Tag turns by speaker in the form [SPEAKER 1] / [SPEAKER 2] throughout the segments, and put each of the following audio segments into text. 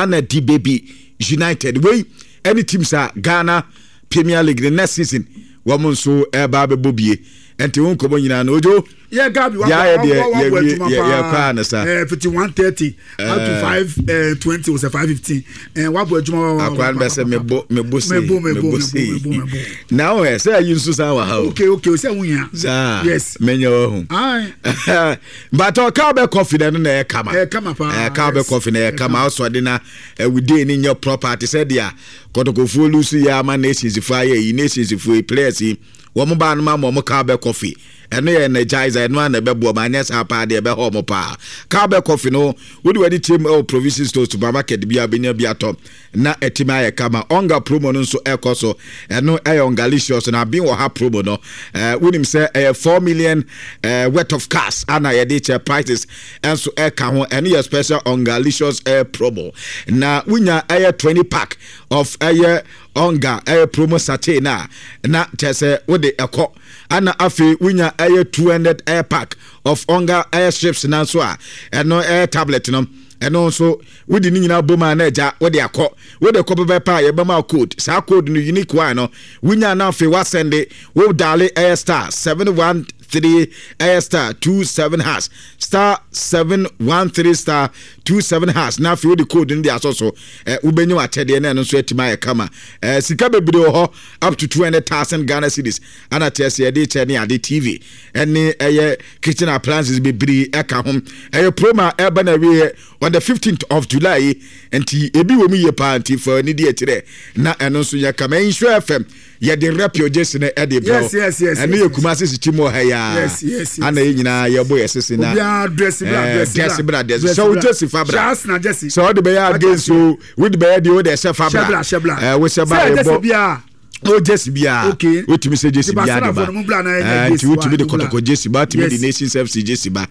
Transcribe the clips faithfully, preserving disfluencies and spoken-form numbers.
[SPEAKER 1] Ana D Baby United wei ɛne teams a Ghana Premier League the next season wɔn nso ɛba abɛbɔ bie. Nti wo nkɔmmɔ nyinaa no, Ojo.
[SPEAKER 2] Yɛ Gabi wa
[SPEAKER 1] yɛ
[SPEAKER 2] wa
[SPEAKER 1] deɛ
[SPEAKER 2] wa wa
[SPEAKER 1] yɛwie
[SPEAKER 2] adwuma
[SPEAKER 1] yɛ
[SPEAKER 2] paa.
[SPEAKER 1] Yɛkɔ a ne sa.
[SPEAKER 2] ɛɛ fifty one thirty up to five ɛɛ twenty o sɛ five fifteen, ɛɛ wabɔ adwuma wa wa.
[SPEAKER 1] Akwa no bɛ sɛ mebo mebo sei.
[SPEAKER 2] Mebo, mebo,
[SPEAKER 1] mebo
[SPEAKER 2] mebo,
[SPEAKER 1] sei.
[SPEAKER 2] Mebo, mebo.
[SPEAKER 1] Na wo ɛ sɛ ayi nso san wɔ ha o.
[SPEAKER 2] okay okay o sɛ n yà.
[SPEAKER 1] Saa.
[SPEAKER 2] Yes.
[SPEAKER 1] Menyɛ wɔ ho.
[SPEAKER 2] Ayi.
[SPEAKER 1] But ɔka bɛ coffee na no na ɛyɛ kama.
[SPEAKER 2] Ɛyɛ kama paa.
[SPEAKER 1] Ɛka bɛ
[SPEAKER 2] yes.
[SPEAKER 1] coffee na ɛyɛ kama. Ɔsɔ de na ɛwude ne nyɛ proper te sɛ deɛ Kɔtɔkɔfoɔ lose yɛ ama Nations foɔ ayɛ yi. Nations foɔ yi, players yi, wɔn baa no ma ma wɔn Cowbell coffee. Ɛno yɛ energizer, ɛno a na ɛbɛboɔ ma anyɛ saa paa deɛ, ɛbɛhɔ ɔmo paa. Cowbell coffee no, wode w'ani kyerɛ mu ɛwɔ provision store, supermarket bi a, bɛnya bi atɔ na ɛtumi ayɛ kama. Ɔnga promo no nso ɛkɔ so. Ɛno ɛyɛ Ɔngalicious na abin wɔ ha promo no. ɛɛ wonim sɛ ɛyɛ four million ɛɛ worth of cars ana yɛde kyɛ, prices ɛnso ɛka ho. Ɛno yɛ special Ɔngalicious ɛyɛ promo na wonya ɛyɛ twenty pack of ɛyɛ Ɔnga ɛyɛ promo sachet na na kyerɛ sɛ wode ɛkɔ. Ana afei wonya ɛyɛ two hundred ɛyɛ pack of Ɔnga ɛyɛ strips na nso a ɛno ɛyɛ tablet no, ɛno nso wode ne nyinaa bom a na agya wode akɔ. Wode kɔ pɛpɛpɛ a, yɛbɛma code. Saa code no, unique one no, wonya na afei wasɛnde wo dial ɛyɛ star seven one three ɛyɛ star two seven hash, star seven one three star two seven hash, na afei wode code no de asɔ so. ɛ wobɛnya w'akyɛdeɛ na ɛno nso atumi ayɛ kama. ɛ sika bebree wɔ hɔ, up to two hundred thousand Ghana cedis ana kyerɛ sɛ yɛde kyɛ ne ade, T V ɛne ɛyɛ kitchen appliances bebree ɛka ho. Ɛyɛ promo a ɛba na wieɛ on the fifteenth of July yi, nti ebi wɔ mu yie paa. Nti fa ani di akyirɛ na ɛno nso yɛ kama. Nhyira F M yɛde rep your jersey no ɛde brɛ.
[SPEAKER 2] Yes, yes, yes,
[SPEAKER 1] ɛno
[SPEAKER 2] yes,
[SPEAKER 1] yɛ Kumase sikyi mu wɔ ha yaa.
[SPEAKER 2] Yes, yes, yes.
[SPEAKER 1] Ana yɛ nyinaa yɛbɔ yɛ sese na
[SPEAKER 2] Obiara dress bra.
[SPEAKER 1] Eh,
[SPEAKER 2] Dress.
[SPEAKER 1] Dress bra, dress. Sɛ wo jersey fa bra.
[SPEAKER 2] Hyɛ Arsenal jersey.
[SPEAKER 1] Sɛ ɔde bɛyɛ against o, wode bɛyɛ deɛ wode ɛhyɛ fa
[SPEAKER 2] Hyɛ
[SPEAKER 1] bra.
[SPEAKER 2] bra, hyɛ bra.
[SPEAKER 1] Eh, wohyɛ ba
[SPEAKER 2] Sɛ jersey
[SPEAKER 1] yɛbɔ
[SPEAKER 2] biara.
[SPEAKER 1] O jersey biara.
[SPEAKER 2] Okay.
[SPEAKER 1] Wotumi sɛ jersey
[SPEAKER 2] Nti
[SPEAKER 1] biara de ba.
[SPEAKER 2] Barcelona fo no, mo bra na ɛnyɛ
[SPEAKER 1] Eh, nti
[SPEAKER 2] jersey
[SPEAKER 1] wotumi
[SPEAKER 2] wa,
[SPEAKER 1] de
[SPEAKER 2] mo bra.
[SPEAKER 1] Kɔtɔkɔ jersey ba, wotumi de
[SPEAKER 2] Yes.
[SPEAKER 1] Nations F C jersey ba,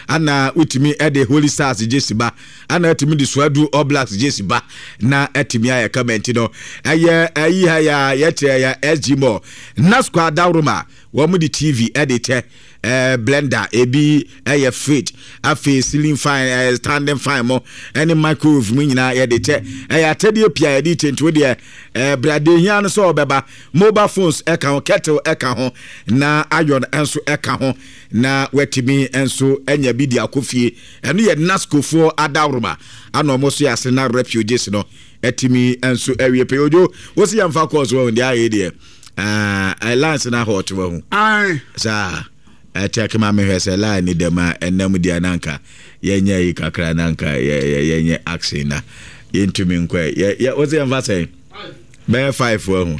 [SPEAKER 1] ana wotumi ɛde Holy Stars jersey ba, ana wotumi de Swedru All Blacks jersey ba na ɛtumi ayɛ kama. Nti no ɛyɛ ɛyi ha yɛ a yɛkyerɛ yɛ S G Mall Nasco Adaworoma, wɔn de T V ɛde kyɛ, ɛɛ blender, ebi ɛyɛ fridge, afei ceiling fan, ɛɛ standing fan mo ɛne microwave mu nyinaa yɛde kyɛ. Ɛyɛ akyɛdeɛ pii a yɛde kyɛ. Nti wo deɛ ɛɛ brade hia no sɛ ɔbɛba. Mobile phones ɛka ho, kettle ɛka ho, na iron nso ɛka ho, na watumi nso anya bi de akɔ fie. Ɛno yɛ Nascofoɔ adaworoma ana ɔmo so yɛ ase na refugees no ɛtumi nso awie pɛ. Ojo, wosi yɛmfa kɔɔso wɔ ho deɛ ayɛ deɛ ɛɛ lines na hɔ ɔte wɔ ho.
[SPEAKER 2] Ayi.
[SPEAKER 1] Saa ɛkyɛ ma mehwɛ sɛ line ni dɛm a ɛnam deɛ nanka yɛnyɛ yi kakra, nanka yɛnyɛ action na yɛntumi nkɔ. Yɛ yɛ wosi yɛmfa sɛn bɛyɛ five wɔ ho.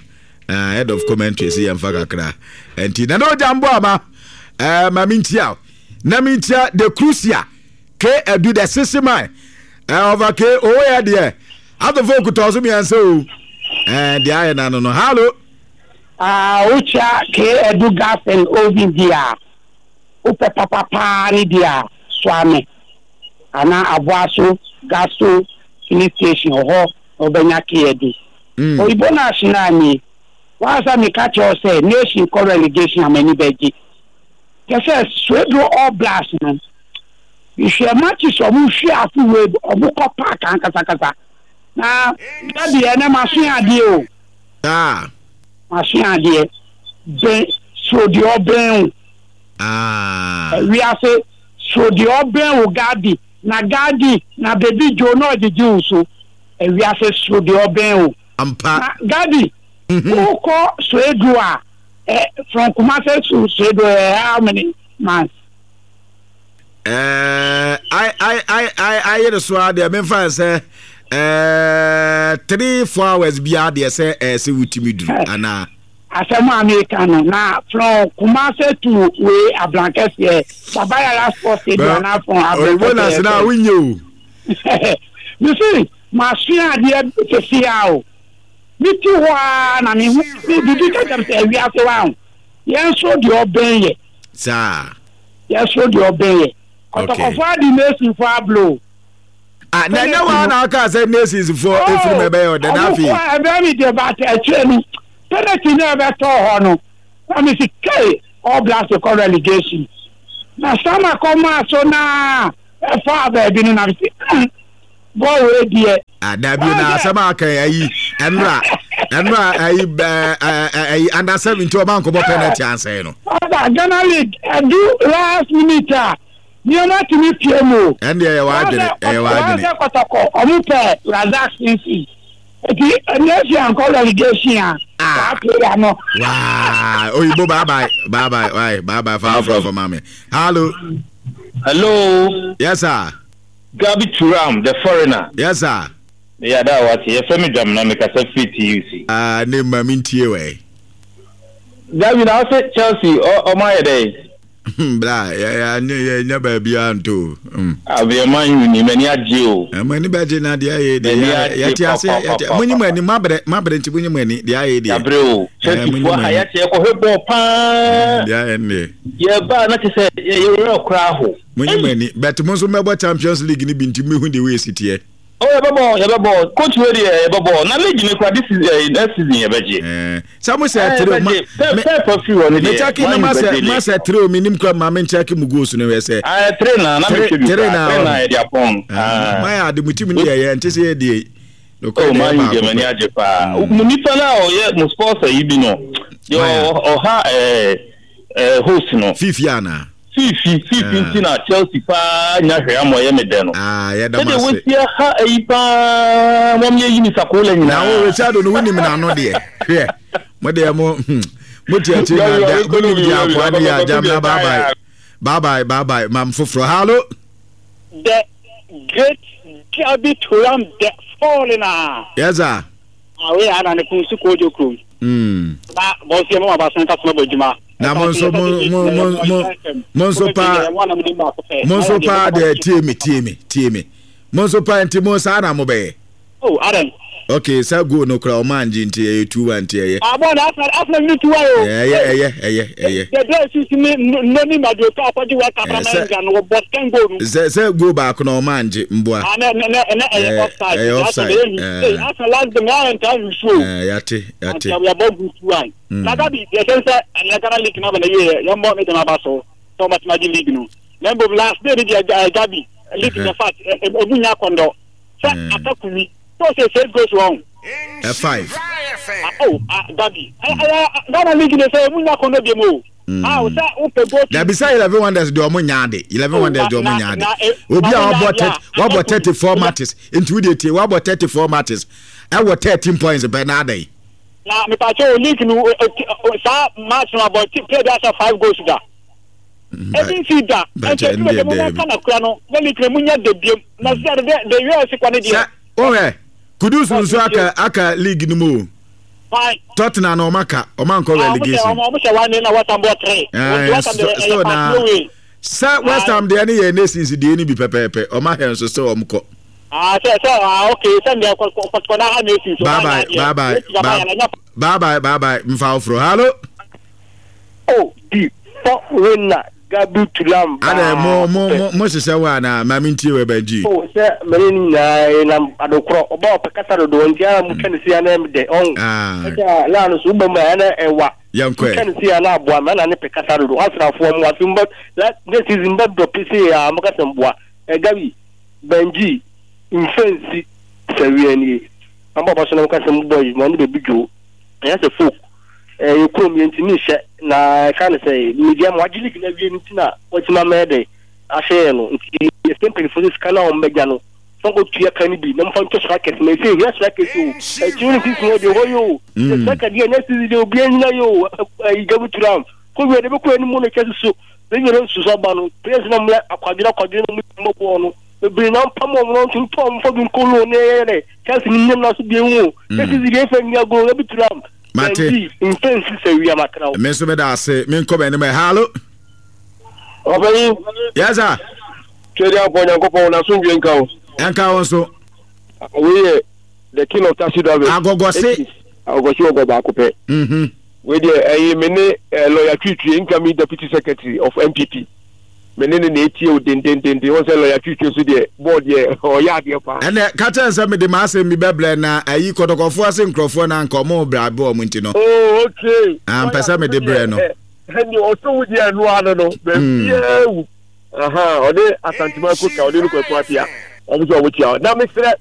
[SPEAKER 1] uh, head of commentary si yɛmfa kakra. Nti na na ɔgya mbɔ ama ɛɛ ma mentia na mentia the crucia k adu the sisi man ɛɛ ɔfa k owó yɛ deɛ atofo okutɔ so mmiɛnsa o. ɛɛ deɛ ayɛ na no no hallo.
[SPEAKER 3] Ah, wokyia K Edu Gas and Oven di a wopɛ papapaa ne di a Soame anaa Aboaso Gaso filling station wɔ hɔ na wobɛnya K Edu.
[SPEAKER 1] Mm.
[SPEAKER 3] Oyibo no ahyena ni wansa meka kyerɛ wo sɛ Nation kɔ relegation a m'ani bɛgye kyɛ sɛ Swedru All Blacks no, mehwɛ matches a ɔmo hwe ase wei, ɔmo kɔ park ankasakasa na dabi ɛnɛ masoa adeɛ o.
[SPEAKER 1] Ah.
[SPEAKER 3] Masua adeɛ bɛn soro deɛ ɔbɛn wo.
[SPEAKER 1] Ah.
[SPEAKER 3] Wiase soro deɛ ɔbɛn wo, Gadi na Gadi na Baby Joe na ɔgyegye wo so. Wiase soro deɛ ɔbɛn wo.
[SPEAKER 1] Ampa.
[SPEAKER 3] Na Gadi, wokɔ Soedu a ɛ from Kumase to Soedu ɛ how many miles?
[SPEAKER 1] ɛɛ ai ai ai ai ayere so a deɛ memfa sɛ ɛɛ three four hours biara deɛ sɛ ɛɛ sɛ wotumi duru anaa?
[SPEAKER 3] Asɛm a meka no na from Kumase to wei Abrankɛseɛ Babayara Sports Stadium anaa from
[SPEAKER 1] Oyibo na sena
[SPEAKER 3] Abrankɛseɛ.
[SPEAKER 1] Wonyɛ o.
[SPEAKER 3] Mesi masua adeɛ sisi a o mi ti hɔ a na mi hu mi bibi ka kyerɛ sɛ awiase wa ho yɛn nso deɛ ɔbɛn yɛ.
[SPEAKER 1] Saa.
[SPEAKER 3] Yɛn nso deɛ ɔbɛn yɛ.
[SPEAKER 1] Okay.
[SPEAKER 3] Kɔtɔkɔfo adi Nationfo ablo.
[SPEAKER 1] Ah, na ɛnyɛ wa na aka sɛ Nations foɔ efiri mu ɛbɛyɛ ɔdɛ na afei.
[SPEAKER 3] Ɔmo kɔ ɛbɛn mi deɛ, but akyire no penalty na ɛbɛtɔ hɔ no na mi si kei All Blacks kɔ relegation na sama kɔ maa so na ɛfa baabi no na mi si hmm Bɔɔl wei deɛ.
[SPEAKER 1] Ah, dabi na asɛm a aka ayi ɛnora ɛnora ayi ɛɛ ayi under seventeen ɔba nkɔbɔ penalty ansɛn no.
[SPEAKER 3] Ɔba Ghana League ɛdu last minute a nneɛma tumi pie mu o.
[SPEAKER 1] Ɛn deɛ ɛyɛ w'adwene, ɛyɛ w'adwene.
[SPEAKER 3] Wɔn sɛ Kɔtɔkɔ ɔmo pɛ Razak Simpson eti ɛnɛ si ankɔ relegation a saa player no.
[SPEAKER 1] Waa oyibo, bye bye, bye bye, bye bye bye, fa afro for mami. Hello.
[SPEAKER 4] Hello.
[SPEAKER 1] Yes, sir.
[SPEAKER 4] Gabi Turam, the foreigner.
[SPEAKER 1] Yes, sir.
[SPEAKER 4] Yàda a wate, yɛfrɛ me Dwamena, mekasa firi T U C.
[SPEAKER 1] Ah, ne ma mi ntie wɛ.
[SPEAKER 4] Gabi, na ɔsɛ Chelsea ɔmo ayɛ dɛ?
[SPEAKER 1] Bra, yɛ yɛ yɛ nyɛ baabi a nto.
[SPEAKER 4] Abeɛ Man U ni m'ani agye o.
[SPEAKER 1] Mo ani bɛgye na deɛ ayɛ deɛ yɛte ase yɛte mo nyi mo ani, mo abrɛ, mo abrɛ nti mo nyi mo ani deɛ ayɛ deɛ.
[SPEAKER 4] Yabrɛ o, Chelsea fo ha yɛte yɛkɔhwɛ bɔɔl paa.
[SPEAKER 1] Deɛ ayɛ deɛ.
[SPEAKER 4] Yɛba na kyɛ sɛ yɛwerɛ koraa ho.
[SPEAKER 1] Mo nyi mo ani, but mo nso mɛbɔ Champions League ni bi nti mo ehu de wei esi teɛ.
[SPEAKER 4] Oh, yɛbɛbɔ, yɛbɛbɔ, coach wei deɛ yɛbɛbɔ na league ni kora this season, eh, next season yɛbɛgye.
[SPEAKER 1] Eh, sɛ mo sɛ three ma
[SPEAKER 4] me pɛpɛ firi hɔ ne deɛ
[SPEAKER 1] me check na ma sɛ ma sɛ three o, mi nim kura ma me check mu goals no hwɛ sɛ.
[SPEAKER 4] Ah, three na na me hwɛ bi kura, three na yɛ de apɔn.
[SPEAKER 1] Ma yɛ ade mo team ni yɛ yɛ nti sɛ yɛ die.
[SPEAKER 4] Oh, Man U deɛ m'ani agye paa. Mo nipa na ɔyɛ mo sponsor yi bi no deɛ ɔha ɛɛ ɛɛ host no.
[SPEAKER 1] Fifi ana.
[SPEAKER 4] Fifi, Fifi nti na Chelsea paa nya hwɛ ama ɔyɛ me dɛ no.
[SPEAKER 1] Ah, yɛda
[SPEAKER 4] mo ase. Sɛdeɛ wɔsi aha ayi paa wɔn yɛ yi ni sakola nyinaa.
[SPEAKER 1] Na wo Richard no wonim n'ano deɛ, hwɛ mo deɛ mo hmm, mo te akyi na da mo nim deɛ akoa ne yɛ agyam na bye bye, bye bye, bye bye, mam foforɔ. Hallo.
[SPEAKER 3] The great Gabi Turam, the foreigner.
[SPEAKER 1] Yes, sir.
[SPEAKER 3] Awe ana ne kun su kojo kurom.
[SPEAKER 1] Mm.
[SPEAKER 3] Na bɔsi ɛmu aba sɛn kasoma bɔ adwuma.
[SPEAKER 1] Na mo nso mo mo mo mo mo nso paa, mo nso paa deɛ, tie mi, tie mi, tie mi, mo nso paa nti mo saa na mo bɛyɛ.
[SPEAKER 3] Oh, Adam.
[SPEAKER 1] Okay, sɛ goal no kora ɔmo angye nti ɛyɛ two one nti ɛyɛ.
[SPEAKER 3] Abɔ na Arsenal Arsenal ni two one o.
[SPEAKER 1] Ɛyɛ, ɛyɛ, ɛyɛ, ɛyɛ.
[SPEAKER 3] The the sisi ni noni Madueke akɔgye World Cup ama England wɔ bɔ ten goal no.
[SPEAKER 1] Sɛ sɛ goal baako na ɔmo angye mboa.
[SPEAKER 3] Ah, ne ne ne ɛyɛ offside.
[SPEAKER 1] Ɛyɛ offside.
[SPEAKER 3] Ɛɛ Arsenal last game ayɛ ntaa nsuo.
[SPEAKER 1] Ɛɛ yate, yate.
[SPEAKER 3] Nti yɛbɔ good two one. Na Gabi deɛ sɛ sɛ ɛnɛ Ghana League na bɛ na yie yɛn bɔ ne dɛm aba so sɛ ɔmo atuma gye league no. Na mbom last day ni deɛ, Gabi, league ne fact emu nya akɔndɔ sɛ atakumi so sɛ six goals wɔn.
[SPEAKER 1] Ɛ five.
[SPEAKER 3] Oh, Gabi, ɛyɛ Ghana League ne sɛ emu nya akɔndɔ bi mu o. Ah, sɛ wopɛ goal.
[SPEAKER 1] Dabi, sɛ Eleven Wonders deɛ ɔmo nya ade, Eleven Wonders deɛ ɔmo nya ade, obi a wabɔ thirty wabɔ thirty four matches nti wo de tie, wabɔ thirty four matches ɛwɔ thirteen points pɛ na adan.
[SPEAKER 3] Na mipakyɛ o, league no saa match no abɔ player bi ahyɛ five goals da ebi nsi da, nti ebi bɛ mu nka na kura no na league no mu nya de biem na sɛ de de yɛ ɛsi kɔ ne deɛ.
[SPEAKER 1] Sɛ ɔhɛ Kudus nso aka aka league no mu o. Tottenham na ɔmo aka, ɔmo ankɔ relegation.
[SPEAKER 3] Ɔmo hyɛ one na West Ham bɔ three.
[SPEAKER 1] Ɛɛ still na sɛ West Ham deɛ ne yɛ Nations deɛ ne bi pɛpɛɛpɛ, ɔmo ahɛ nso sɛ ɔmo kɔ.
[SPEAKER 3] Ah, sɛ sɛ ah, okay, sɛ deɛ kɔtɔkɔ na ha Nations.
[SPEAKER 1] Bye bye, bye bye, bye bye, bye bye, nfa oforo. Hallo.
[SPEAKER 5] Oh, di foreigner Gabi Tulam.
[SPEAKER 1] Ada mo mo mo mo hyehyɛ wɔ ana maame ntie wɔ ɛbɛn gyi.
[SPEAKER 5] O sɛ mene ne nyinaa nam adokorɔ ɔba ɔpɛ kasa dodoɔ nti ara mu twa ne si ana ɛm dɛ ɔn. Ɛkyɛ laa no so wobɛ mu a ɛna ɛwa.
[SPEAKER 1] Yɛn kɔ
[SPEAKER 5] ɛ. Twa ne si ana aboa mɛ ɛna ne pɛ kasa dodoɔ asrafoɔ mu afi mbɛ la next season mbɛ dɔ pese a mo kasa mboa. Ɛ Gabi Benji mfɛnsi sɛ wia nie. Ambɔ aba so na mo kasa mu bɔ yi mo ani bɛbi dwo. Ɛyɛ sɛ folk ɛyɛ kurom yɛn ntumi nhyɛ na ɛka ne sɛ media ma wagye league na awie no nti na wɔtumi amɛyɛ dɛ ahyɛ yɛn no, nti yɛsɛ mpanyinfoɔ sɛ sika no a wɔn bɛgya no fa nkɔ tua ka no bi na mofa ntɔ strikers na ɛsɛ ehia strikers o, akyiri no season hɔ deɛ hɔ yɛ o, sɛ striker deɛ next season deɛ obiara nyina yɛ o. Ɛyi Gabi Turam kɔ wie de bɛkɔ anim no kyɛ soso bɛnyɛ no nsusu aba no players na mo akwadwene akwadwene na mo bɔ bɔɔl no bebree na mpam wɔn no ntontɔn wɔn fa bi nkɔ loan na ɛyɛ dɛ Chelsea ni nyɛ na so bi ehu o next season deɛ efa nni agorɔ. Gabi Turam
[SPEAKER 1] Mate.
[SPEAKER 5] Mfe nsi sɛ wia makra wo.
[SPEAKER 1] Me nso meda ase. Menkɔ m'anim ɛ. Hallo.
[SPEAKER 6] Ɔpanyin.
[SPEAKER 1] Yes, sir.
[SPEAKER 6] Twɛde apɔ Nyankopɔn na asomdwe nka wo.
[SPEAKER 1] Ɛnka wo nso.
[SPEAKER 6] Wei yɛ the king of taxi drivers.
[SPEAKER 1] Agɔgɔse.
[SPEAKER 6] Agɔgɔse ɔgɔ baako pɛ.
[SPEAKER 1] Mhm.
[SPEAKER 6] Wei deɛ ɛyɛ me ne lawyer Twitwie, incoming deputy secretary of N P P. Me ne ne na etie o dendendenden, wɔn sɛ lawyer Twitwie so deɛ bɔɔl deɛ ɔyɛ adeɛ paa.
[SPEAKER 1] Ɛnɛ ka kyɛn sɛ mede m'asɛm bi bɛbrɛ na ayi kɔtɔkɔfoɔ ase nkurɔfoɔ na anka ɔmo brɛ abɛ ɔmo nti no.
[SPEAKER 6] Oh, okay.
[SPEAKER 1] Ampɛ sɛ mede brɛ no.
[SPEAKER 6] Ɛni ɔsɔ wo deɛ ɛno ano no baabiara wu. Ɔde Asantuma koka ɔde no kɔ ɛkɔ apia. Ɔmo sɛ ɔmo kyia na mesrɛ.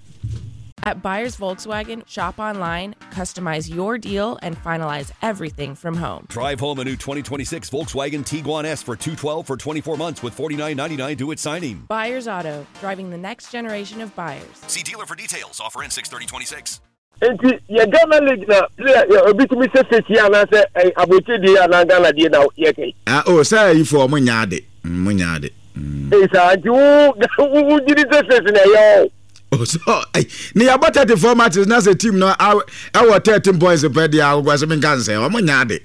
[SPEAKER 7] At Buyers Volkswagen, shop online, customize your deal, and finalize everything from home.
[SPEAKER 8] Drive home a new twenty twenty-six Volkswagen Tiguan S for two hundred twelve dollars for twenty-four months with forty-nine ninety-nine due at signing.
[SPEAKER 7] Buyers Auto, driving the next generation of buyers.
[SPEAKER 8] See dealer for details. Offer ends six thirty twenty-six.
[SPEAKER 6] Enti ye Ghana League na player obi tumi se sesi ana se aboche die ana Ghana die na ye kai.
[SPEAKER 1] Ah oh say you for mo nyaade. Mo nyaade.
[SPEAKER 6] Eh sa nti wo wo gidi se sesi na yo.
[SPEAKER 1] Oh so eh ni about thirty-four matches na se team no e wo thirteen points per dia agwa se me nka nse o mo nyaade.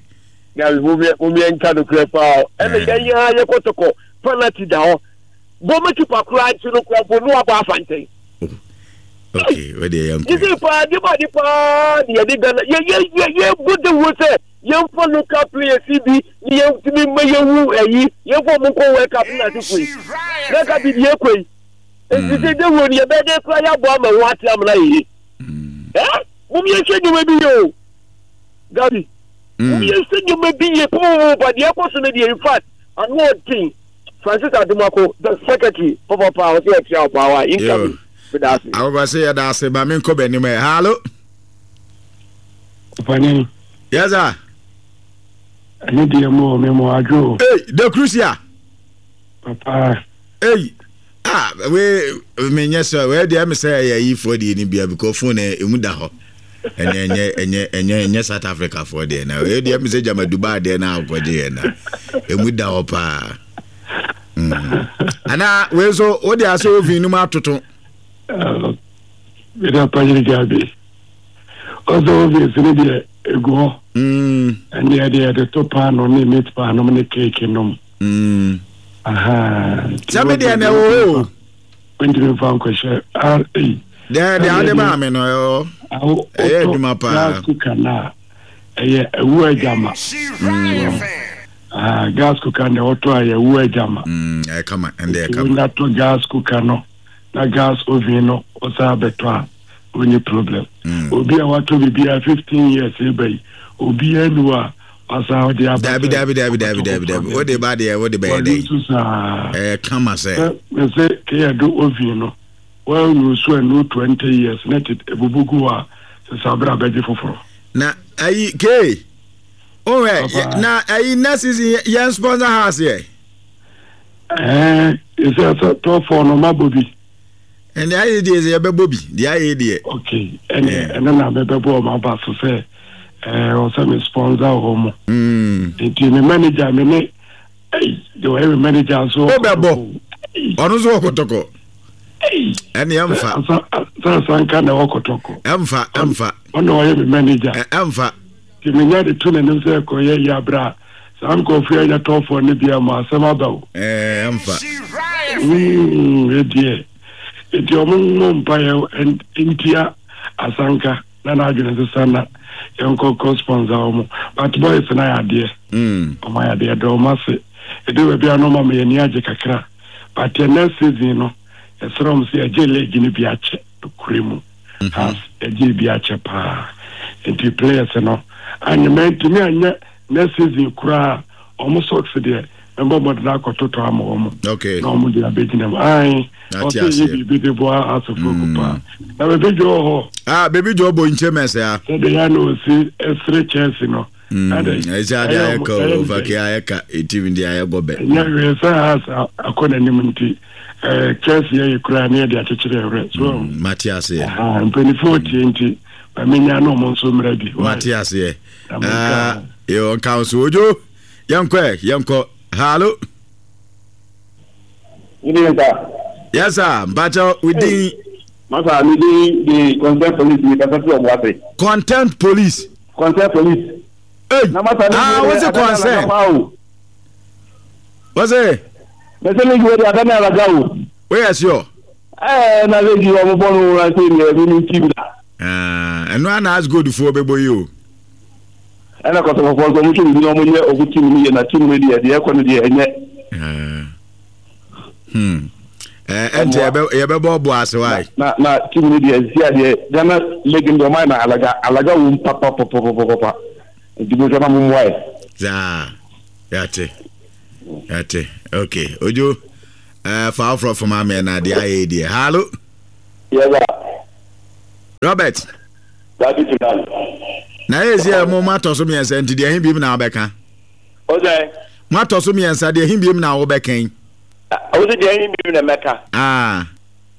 [SPEAKER 6] Na mo me mo me nka no kure pa. E me yan ya ye kotoko penalty da ho. Bo me keeper kura nti no kura bo no aba afanten.
[SPEAKER 1] Okay, where they young.
[SPEAKER 6] You see, pa, di pa, di pa, di di Ghana. Ye ye ye ye good the water. Ye for local players, C B. Ye to me me ye who eh ye for munko World Cup na ti kui. Na ka bi ye kui. E si de wo ni ye be de kura ya bo ma wa ti am na ye. Eh? Mo mi ye se ni we bi yo. Gabi. Mo mi ye se ni we bi ye po ba di e ko so ne di in fact, and one thing. Francis Adumako, the secretary, Papa pa o se e ti power incoming.
[SPEAKER 1] I will say that I ba me nko bani me. Hello.
[SPEAKER 9] Pani.
[SPEAKER 1] Yes sir.
[SPEAKER 9] Ani die mo me mo adwo.
[SPEAKER 1] Hey, the crucia.
[SPEAKER 9] Papa.
[SPEAKER 1] Hey. Ah, we me nyɛ sɛ we dey me say ya yi for dey ni bia because phone e mu da ho. Enye enye enye enye enye South Africa for dey na. We dey me say jama Dubai dey na akɔgye na. E mu da ho pa. Mm. Ana we so wo dey aso oven nu ma atoto.
[SPEAKER 9] Meda panyini gabi. Ozo obviously deɛ egu hɔ. Ɛne ɛde yɛde to paano ne meat paano ne cake nom. Aha.
[SPEAKER 1] Sɛ me deɛ na ɛwɔ o.
[SPEAKER 9] Ntumi nfa nkɔhyɛ R A.
[SPEAKER 1] Deɛ deɛ ade maa me no ɛwɔ. Ɛyɛ adwuma paa.
[SPEAKER 9] Gas cooker na ɛyɛ ɛwu agyama. Ah, gas cooker na ɔtɔ a ɛyɛ ɛwu agyama.
[SPEAKER 1] Ɛyɛ kama ɛnde ɛyɛ kama.
[SPEAKER 9] Wonya tɔ gas cooker no. Na gas oven no osa beto a only problem. Mm. Obi a wato bibia fifteen years e obi enu a asa odi aba.
[SPEAKER 1] Dabi dabi dabi dabi dabi dabi. Wo de ba de wo de be dey. Eh kama se.
[SPEAKER 9] Me se ke ya do oven no. Wa nu so enu twenty years net ebubugu a se sabra beji foforo.
[SPEAKER 1] Na ayi ke. O na ayi next season yen sponsor house here.
[SPEAKER 9] Eh, is that top four no ma bobi.
[SPEAKER 1] And the idea is a baby, the idea.
[SPEAKER 9] Okay, and and then I'm a baby, my boss say, eh, or some sponsor home.
[SPEAKER 1] Hmm.
[SPEAKER 9] The manager, me, hey, the every manager so.
[SPEAKER 1] Oh, bebo. Ono so kotoko.
[SPEAKER 9] Hey.
[SPEAKER 1] And the amfa.
[SPEAKER 9] So sanka na okotoko.
[SPEAKER 1] Amfa, amfa.
[SPEAKER 9] Ono oye manager.
[SPEAKER 1] Amfa.
[SPEAKER 9] The manager the two na say ko ye ya bra. Sam ko fia ya top for ne bia ma asem aba o.
[SPEAKER 1] Eh, amfa.
[SPEAKER 9] Hmm, dear. Eti omo mpa ntia asanka na na adwene sesa na yenko ko sponsor omo but boys na ya de
[SPEAKER 1] mm
[SPEAKER 9] omo ya de do ma se e de we bia no ma me ni age kakra but the next season no esrom se eje league ni bia che kuremu has eje bia che pa enti players no anyement mi anya next season kura omo socks de mbo mo da kototo am omo.
[SPEAKER 1] Okay.
[SPEAKER 9] Na omo de abegina ai. O se ye bi de bo asofo pa. Na baby jo ho.
[SPEAKER 1] Ah, baby jo bo nche mese ah.
[SPEAKER 9] Se de ya no si esre chance no.
[SPEAKER 1] Ade. E ja de ayeka over ke ayeka etim de ayego be.
[SPEAKER 9] Nya we sa as akona nim nti eh chance ye kura na de akyekyere re. So
[SPEAKER 1] Matias ye.
[SPEAKER 9] Ah, mpeni forty nti ba menya no mo nso mra bi.
[SPEAKER 1] Matias ye. Ah, yo council ojo. Yanko yanko. Hello. Yes, sir. Bacho, we did.
[SPEAKER 10] Masa, we did the content police. We can
[SPEAKER 1] Content police.
[SPEAKER 10] Content police.
[SPEAKER 1] Hey. Ah, what's the concern? What's it? Where is your?
[SPEAKER 10] Eh, na lady, I'm born when I say me, me team.
[SPEAKER 1] Ah, and one has good for baby you.
[SPEAKER 10] Ɛna kɔtɔkɔfɔ nso ɔmo twɛ bibi na ɔmo nyɛ ɔmo team no yɛ na team no deɛ deɛ ɛkɔ no deɛ ɛnyɛ.
[SPEAKER 1] Hmm. Eh, ɛnti yɛbɛ yɛbɛbɔ ɔbɔ ase wa.
[SPEAKER 10] Na na team no deɛ si adeɛ Ghana league deɛ ɔmo ayɛ na alaga alaga wɔm papapapapapa nti mo sɛ na mo mmoa yɛ.
[SPEAKER 1] Zaa yate yate okay ojo ɛɛ fa afro fama mɛ na deɛ ayɛ deɛ hello.
[SPEAKER 6] Yes,
[SPEAKER 1] Robert.
[SPEAKER 6] Dabi Tunan.
[SPEAKER 1] Na ezi mo ma to so mmiɛnsa nti deɛ hin bi na wobɛka.
[SPEAKER 6] Ose.
[SPEAKER 1] Ma to so mmiɛnsa deɛ hin bi na wobɛka.
[SPEAKER 6] Ose deɛ hin bi na mɛka.
[SPEAKER 1] Ah.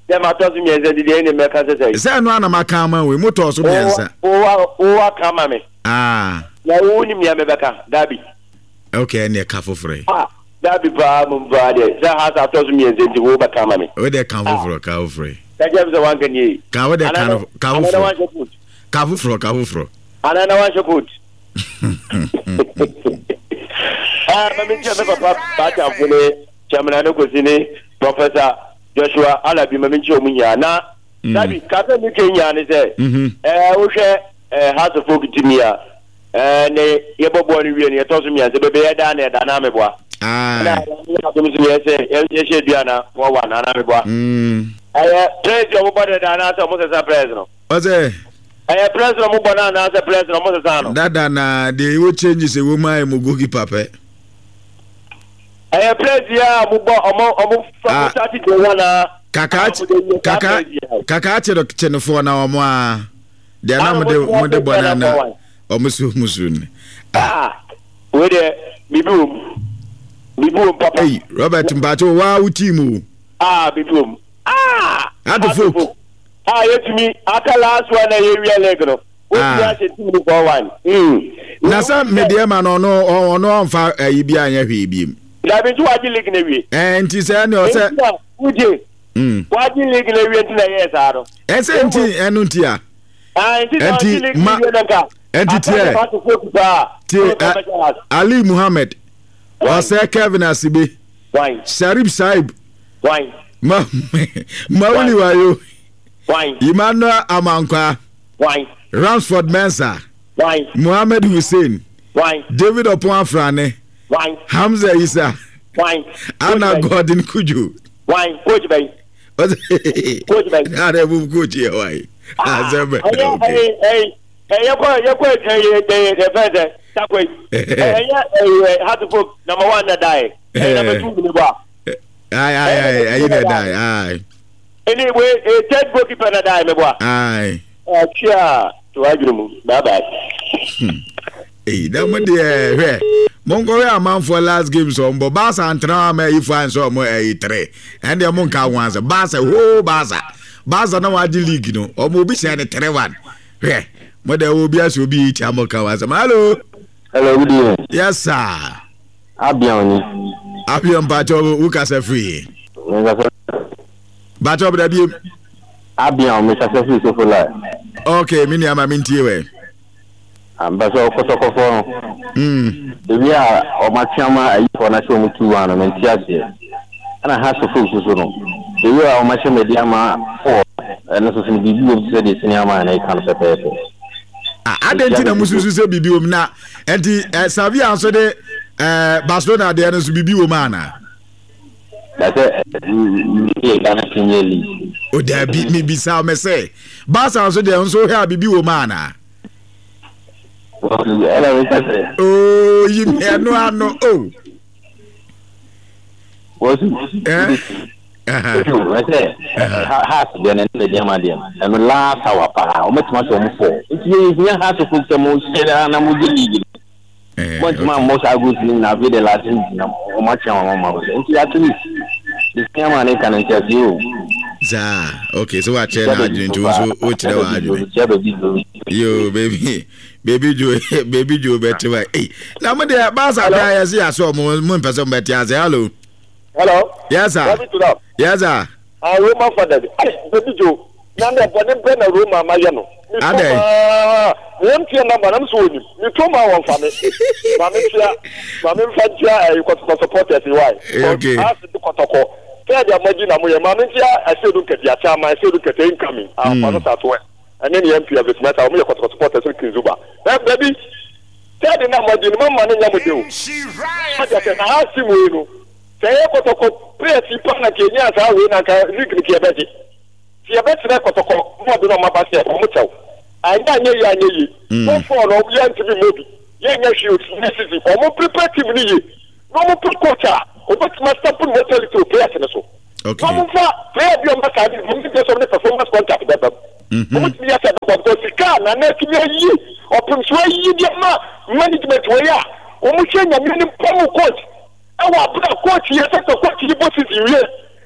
[SPEAKER 6] Deɛ ma to so mmiɛnsa nti deɛ hin mɛka sɛ sɛ.
[SPEAKER 1] Sɛ no ana maka ama we mo to so mmiɛnsa.
[SPEAKER 6] O o o aka ma me.
[SPEAKER 1] Ah.
[SPEAKER 6] Na wo ni mia mɛbɛka dabi.
[SPEAKER 1] Okay, ne ka foforo.
[SPEAKER 6] Ah, dabi pa mo ba de. Sɛ ha sa to so mmiɛnsa nti wo bɛka ma me.
[SPEAKER 1] O de ka foforo, ka foforo.
[SPEAKER 6] Ka jam sɛ wanka ni.
[SPEAKER 1] Ka wo de ka ka foforo. Ka foforo, ka foforo.
[SPEAKER 6] Ana na wanhyɛ coat. Ah, ma me nkyɛ me papa Batamfo ne Chairman no kosi ne Professor Joshua Alabi ma me nkyɛ omu nya na dabi ka sɛ me kenya ne sɛ eh wo hwɛ eh House of Folk team ya eh ne ye bobo ne wie ne ye to so mianse bebe ye da na da na meboa.
[SPEAKER 1] Ah.
[SPEAKER 6] Na ya to so ye se ye hye dua na four one na meboa.
[SPEAKER 1] Mm.
[SPEAKER 6] Eh praise your body da na so mo sesa praise no.
[SPEAKER 1] Ose
[SPEAKER 6] eh praise no mo bo na na se praise no mo sesa no.
[SPEAKER 1] Dada na de wo change se wo mai mo goalkeeper pe.
[SPEAKER 6] Eh praise ya mo bo omo omo thirty de one na
[SPEAKER 1] kaka kaka kaka che chenefo na omo a de na mo de mo de bo na na omo su musu ni.
[SPEAKER 6] Ah, we de bibi um bibi um papa.
[SPEAKER 1] Hey Robert Mbacho wa wo team o.
[SPEAKER 6] Ah bibi um. Ah,
[SPEAKER 1] Adofo.
[SPEAKER 6] Ah yetumi aka last one na ye wi leg no. We ti a team no for one. Mm.
[SPEAKER 1] Na sa me de ma no no no onfa ayi bi anya hwe bi.
[SPEAKER 6] Da bi tu waji league na wie.
[SPEAKER 1] Eh nti se ne o se
[SPEAKER 6] uje.
[SPEAKER 1] Mm.
[SPEAKER 6] Waji league na wie nti na yes aro.
[SPEAKER 1] Eh se nti enu nti a.
[SPEAKER 6] Ah nti na waji league na wie na ka.
[SPEAKER 1] Nti tie. Tie Ali Muhammad. Ose Kevin Asibe.
[SPEAKER 6] Why?
[SPEAKER 1] Sharif Saib.
[SPEAKER 6] Why?
[SPEAKER 1] Ma Mauli Wayo.
[SPEAKER 6] Why?
[SPEAKER 1] Emmanuel Amankwa.
[SPEAKER 6] Why?
[SPEAKER 1] Ramsford Mensah.
[SPEAKER 6] Why?
[SPEAKER 1] Muhammad Hussein.
[SPEAKER 6] Why?
[SPEAKER 1] David Opon Afrane.
[SPEAKER 6] Why?
[SPEAKER 1] Hamza Isa.
[SPEAKER 6] Why?
[SPEAKER 1] Anna Gordon Kuju.
[SPEAKER 6] Why? Coach bay. Coach bay.
[SPEAKER 1] Na re bu coach ye why? Azebe.
[SPEAKER 6] Hey hey hey yeko yeko eh eh eh takwe. Eh eh Hearts number one na die. Number two ni ba.
[SPEAKER 1] Aye aye aye aye na die. Aye.
[SPEAKER 6] Anyway, a third goalkeeper na die me boy.
[SPEAKER 1] Aye.
[SPEAKER 6] Eh chia to adwumu. Bye bye.
[SPEAKER 1] Eh na mo de hwe. Mongo we amanfo last game so mbo Barca antena ma ifo anso mo eh three. And dey monka wanza Barca ho Barca. Barca na waji league no. Omo obi hye ne three one. Hwe. Mo de obi aso obi ti amoka wanza. Hello.
[SPEAKER 11] Hello, good evening.
[SPEAKER 1] Yes sir.
[SPEAKER 11] Abion ni.
[SPEAKER 1] Abion bacho wo kasa free. Bacho bra bi.
[SPEAKER 11] Abion me kasa free so for life.
[SPEAKER 1] Okay, me ni ama me ntie we.
[SPEAKER 11] Ambassador Kotoko no.
[SPEAKER 1] Mm.
[SPEAKER 11] Ebi a o matiama ayi for na show mu two one me ntie ase. Ana ha so folks so no. Ebi a o ma me dia ma four. Eno so sin bibi wo se de senior man na e kan pepepe.
[SPEAKER 1] Ah, adenti na mususu se bibi wo na enti Savia so de eh Barcelona de no so bibi wo ma na.
[SPEAKER 11] That's it. Ghana Premier League.
[SPEAKER 1] O da bi mi bisa me say Barca so de nso hwe bibi wo ma na. Oh, you no ano oh.
[SPEAKER 11] Was eh I say has de na ne de ma de. And last hour pa o metuma so mo four. Nti ye has to cook some share na mo league. But man most I go to na be the last na o ma chia ma ma. Nti at least the same man can tell you.
[SPEAKER 1] Za okay, so what chair na adwene to so o kire wa adwene. Yo baby baby Joe baby Joe better wa. Eh na mo de Barca bra ye se aso mo mo mpese mo beti ase. Hello.
[SPEAKER 6] Hello.
[SPEAKER 1] Yes sir. Yes sir.
[SPEAKER 6] Ah Roma father. Baby Joe. Na na bone be na Roma ma ye no.
[SPEAKER 1] Ade.
[SPEAKER 6] Me tia number na so oni. Me to ma won fa me. Ma me tia ma me fa tia eh kotoko supporters why.
[SPEAKER 1] Okay.
[SPEAKER 6] As the kotoko. Tia dia maji na mo ye ma me tia asedu kete acha ma asedu kete incoming. Ah fa no start well. And then the M P of it matter, we are supporters in Kizuba. Baby, tell the number, the mamma, and Yamado. I asked him, we say, Kotoko, pray, Pana, Kenya, I will not I know you, I know you. No for no, we are to be moved. Yes, you, this is it. Omo prepare team ni. No mo put coach. Omo master put mentality to players so.
[SPEAKER 1] Okay.
[SPEAKER 6] Wɔn fa player bi a wɔn bɛsa de wɔn ti sɛ wɔn de performance contract bɛbɛ mu. Wɔn ti yɛ sɛ bɛbɔ because sika na na etumi ayi ɔpem so ayi de ama management wɔ yi a wɔn hwɛ nyame ne pɔmu coach ɛwɔ abira coach yɛ sɛ sɛ coach yi bɔ season wie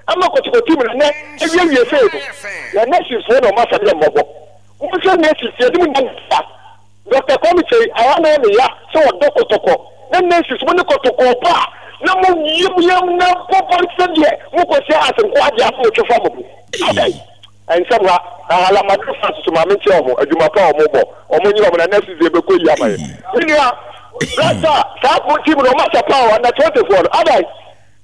[SPEAKER 6] ama kɔtɔkɔ team na nɛ ewie wie fɛ no yɛ nurses foɔ na wɔn asa de mmɔbɔ wɔn hwɛ nurses yɛ de mu nan fa Doctor Kwame Kyei ayɛ na ɔne ya sɛ ɔdɔ kɔtɔkɔ na nurses mo ne kɔtɔkɔ ba na mo yam yam na bɔbɔ sɛdeɛ mo kɔ hyɛ ase nko adeɛ afɔ otwe fa mo bo adai nsɛm ha ahalamado fa soso maame nkyɛn ɔmo adwuma pa ɔmo bɔ ɔmo nyina ɔmo na nurses yɛ bɛkɔ yi ama yɛ me nua brasa saa ko team no ɔmo ahyɛ paa o under twenty four no adai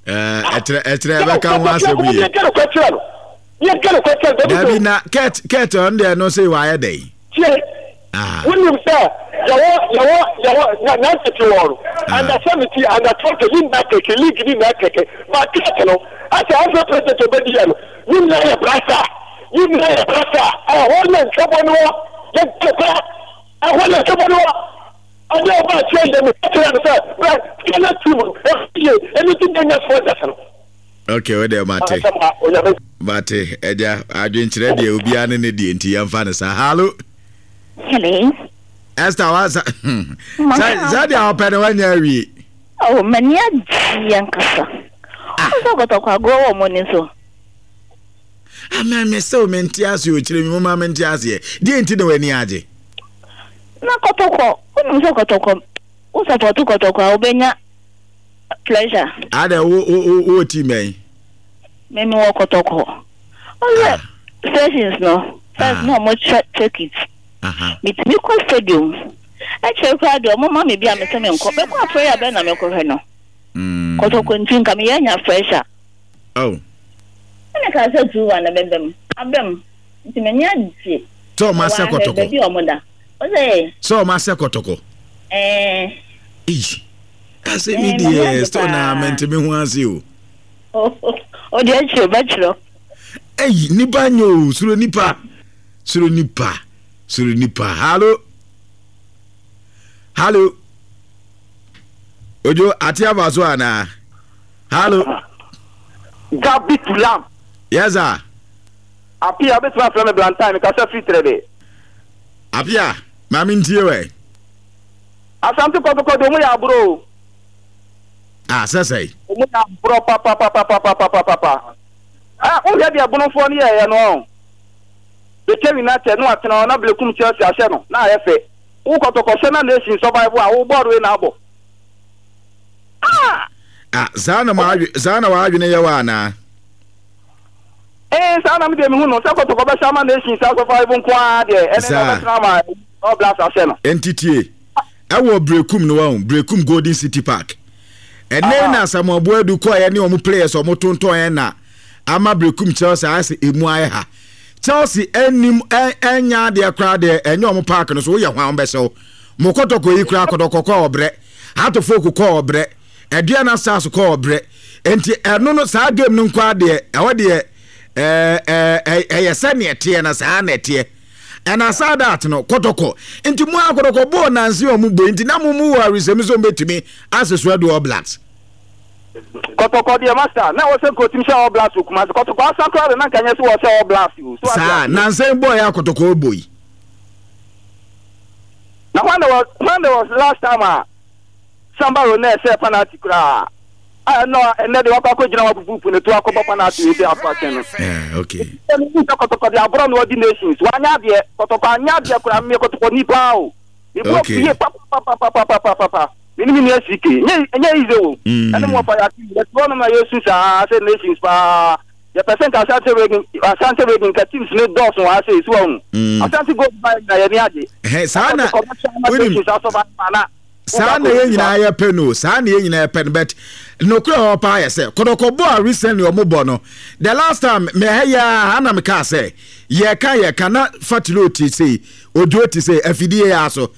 [SPEAKER 1] ɛkyerɛ ɛkyerɛ ɛbɛka ho asɛm yie
[SPEAKER 6] yɛnka no kɔkyerɛ no yɛnka no kɔkyerɛ no
[SPEAKER 1] dabi na kɛt kɛt ɔno deɛ no sɛ wayɛ dɛn
[SPEAKER 6] tie wonim sɛ yɛwɔ yɛwɔ yɛwɔ na nantete wɔ no under seventeen under twenty ne nyinaa kɛkɛ league ne nyinaa kɛkɛ ba kɛt no asɛ afɛ president obɛdi yɛ no ne nyinaa yɛ brasa ne nyinaa yɛ brasa ɛhɔ na ntwɛbɔ no wɔ yɛnka kora ɛhɔ na ntwɛbɔ no wɔ ɔde ɔba akyerɛ yɛ no kyerɛ no sɛ brɛ Ghana team no ɛyɛ ɛno ti nyɛ sponsors no.
[SPEAKER 1] Okay, wo deɛ mate mate agya adwenkyerɛ deɛ obiara ne ne deɛ nti yɛmfa no saa. Hallo.
[SPEAKER 12] Hello.
[SPEAKER 1] Esther wa sa sɛ deɛ ɔpɛ no wanya awie.
[SPEAKER 12] Oh, m'ani agye ankasa. Ɔsɛ kɔtɔkɔ agorɔ wɔ mo ni so.
[SPEAKER 1] Ama me sɛ mente ase o kyerɛ mi mo ma mente aseɛ. Deɛ nti na w'ani agye?
[SPEAKER 12] Na kɔtɔkɔ, wonim sɛ kɔtɔkɔ, wo support kɔtɔkɔ a wobɛnya pleasure.
[SPEAKER 1] Ada wo wo wo team bɛn?
[SPEAKER 12] Me me wɔ kɔtɔkɔ. Ɔsɛ sessions no, first na ɔmo check check it. Metumi kɔ stadium. Ɛkyerɛ koraa deɛ ɔmo ma me bi a me sɛ me nkɔ. Mɛkɔ afɔre a bɛn na mekɔhwɛ no. Kɔtɔkɔ nti nka meyɛ nya pressure.
[SPEAKER 1] Oh.
[SPEAKER 12] Ɛna ka sɛ two one na bɛbɛm. Abɛm. Nti m'ani agye.
[SPEAKER 1] Sɛ ɔmo asɛ kɔtɔkɔ.
[SPEAKER 12] Baabi a ɔmo da. Ɔsɛ.
[SPEAKER 1] Sɛ ɔmo asɛ kɔtɔkɔ.
[SPEAKER 12] Ɛɛ.
[SPEAKER 1] Eyi. Ase mi deɛ still na mente me ho ase o.
[SPEAKER 12] O deɛ kyerɛ bɛkyerɛ.
[SPEAKER 1] Eyi nipa nye o suro nipa suro nipa suro nipa. Hallo. Hallo. Ojo ate aba so ana. Hallo.
[SPEAKER 6] Gabi Tulam.
[SPEAKER 1] Yes sir.
[SPEAKER 6] Apia betuma frɛ me Blantyre me kasa firi trɛde.
[SPEAKER 1] Apia maame ntie wɛ.
[SPEAKER 6] Asante kɔtɔkɔ de ɔmo yɛ aburo.
[SPEAKER 1] Ah sɛsɛe.
[SPEAKER 6] Ɔmo yɛ aburo papapapapapapapa. Ah wohwɛ deɛ bonofoɔ no yɛɛyɛ no ɔn. Bɛkyɛ United no atena hɔ na Blekum Chelsea ahyɛ no na ayɛ fɛ. Wo kɔtɔkɔ hyɛ na Nation survive a wo bɔɔl wei na abɔ. Ah!
[SPEAKER 1] Ah saa na ma saa na w'adwene yɛ wɔ anaa?
[SPEAKER 6] Eh saa na me deɛ mehu no sɛ kɔtɔkɔ bɛhyɛ ama Nation saa survive nko ara deɛ ɛne na ɔbɛtena ama All Blacks ahyɛ no.
[SPEAKER 1] Enti tie. Ɛwɔ Brekum no wahu Brekum Golden City Park. Ɛnɛ na Samuel Boadu kɔɛ ne ɔmo players ɔmo tontɔn na ama Brekum Chelsea ayɛ sɛ emu ayɛ ha. Chelsea anim ɛnya adeɛ koraa deɛ ɛnyɛ ɔmo park no so woyɛ hwan bɛhyɛw. Mo kɔtɔkɔ yi koraa kɔtɔkɔ kɔ ɔbrɛ. Hatofok kɔ ɔbrɛ. Aduana Stars kɔ ɔbrɛ. Enti ɛno no saa game no nko adeɛ ɛhɔ deɛ ɛɛ ɛɛ ɛyɛ sɛ neɛ teɛ na saa na ɛteɛ. And aside that no kɔtɔkɔ nti mo akɔtɔkɔ bɔɔl nansi ɔmo bɔ nti na mo mu wɔ arisɛm so mbɛtumi aseso ɛdo All Blacks.
[SPEAKER 6] Kɔtɔkɔ deɛ master na wɔsɛ nkotim hyɛ All Blacks okuma se kɔtɔkɔ asa koraa de na nka nyɛ sɛ wɔhyɛ All Blacks o. So
[SPEAKER 1] saa nansi bɔɔl yɛ akɔtɔkɔ bɔ yi.
[SPEAKER 6] Na when there was when there was last time a Samba Rone sɛ penalty koraa a ɛnɔ ɛnɛ de wakɔ akɔgyina wapupupu ne to akɔbɔ penalty wei sɛ akɔ akyɛn no.
[SPEAKER 1] Eh, okay.
[SPEAKER 6] Ɛnu sɛ kɔtɔkɔ de aborɔ na ɔdi nations wanya adeɛ kɔtɔkɔ anya adeɛ koraa mmea kɔtɔkɔ nipa o.
[SPEAKER 1] Okay.
[SPEAKER 6] Ibu papapapapapapa. Mini mini esike. Nye nye ize wo. Ɛne mo fa ya ti. Yɛ no na Yesu saa sɛ nations pa. Yɛ pɛsɛ nka Asante Regin Asante Regin ka teams ne dɔɔso wa sɛ esu wɔn. Asante go ba na yɛ ni agye.
[SPEAKER 1] Ɛhɛ saa na wonim saa na yɛ nyinaa yɛ pɛ no saa na yɛ nyinaa yɛ pɛ no but nokura hɔ paa yɛ sɛ kɔtɔkɔ bɔ a recently ɔmo bɔ no the last time mɛ ha yɛ a ana mɛ kaa sɛ yɛ ka yɛ ka na fatilo ti sei ojo ti sei afidie yɛ aso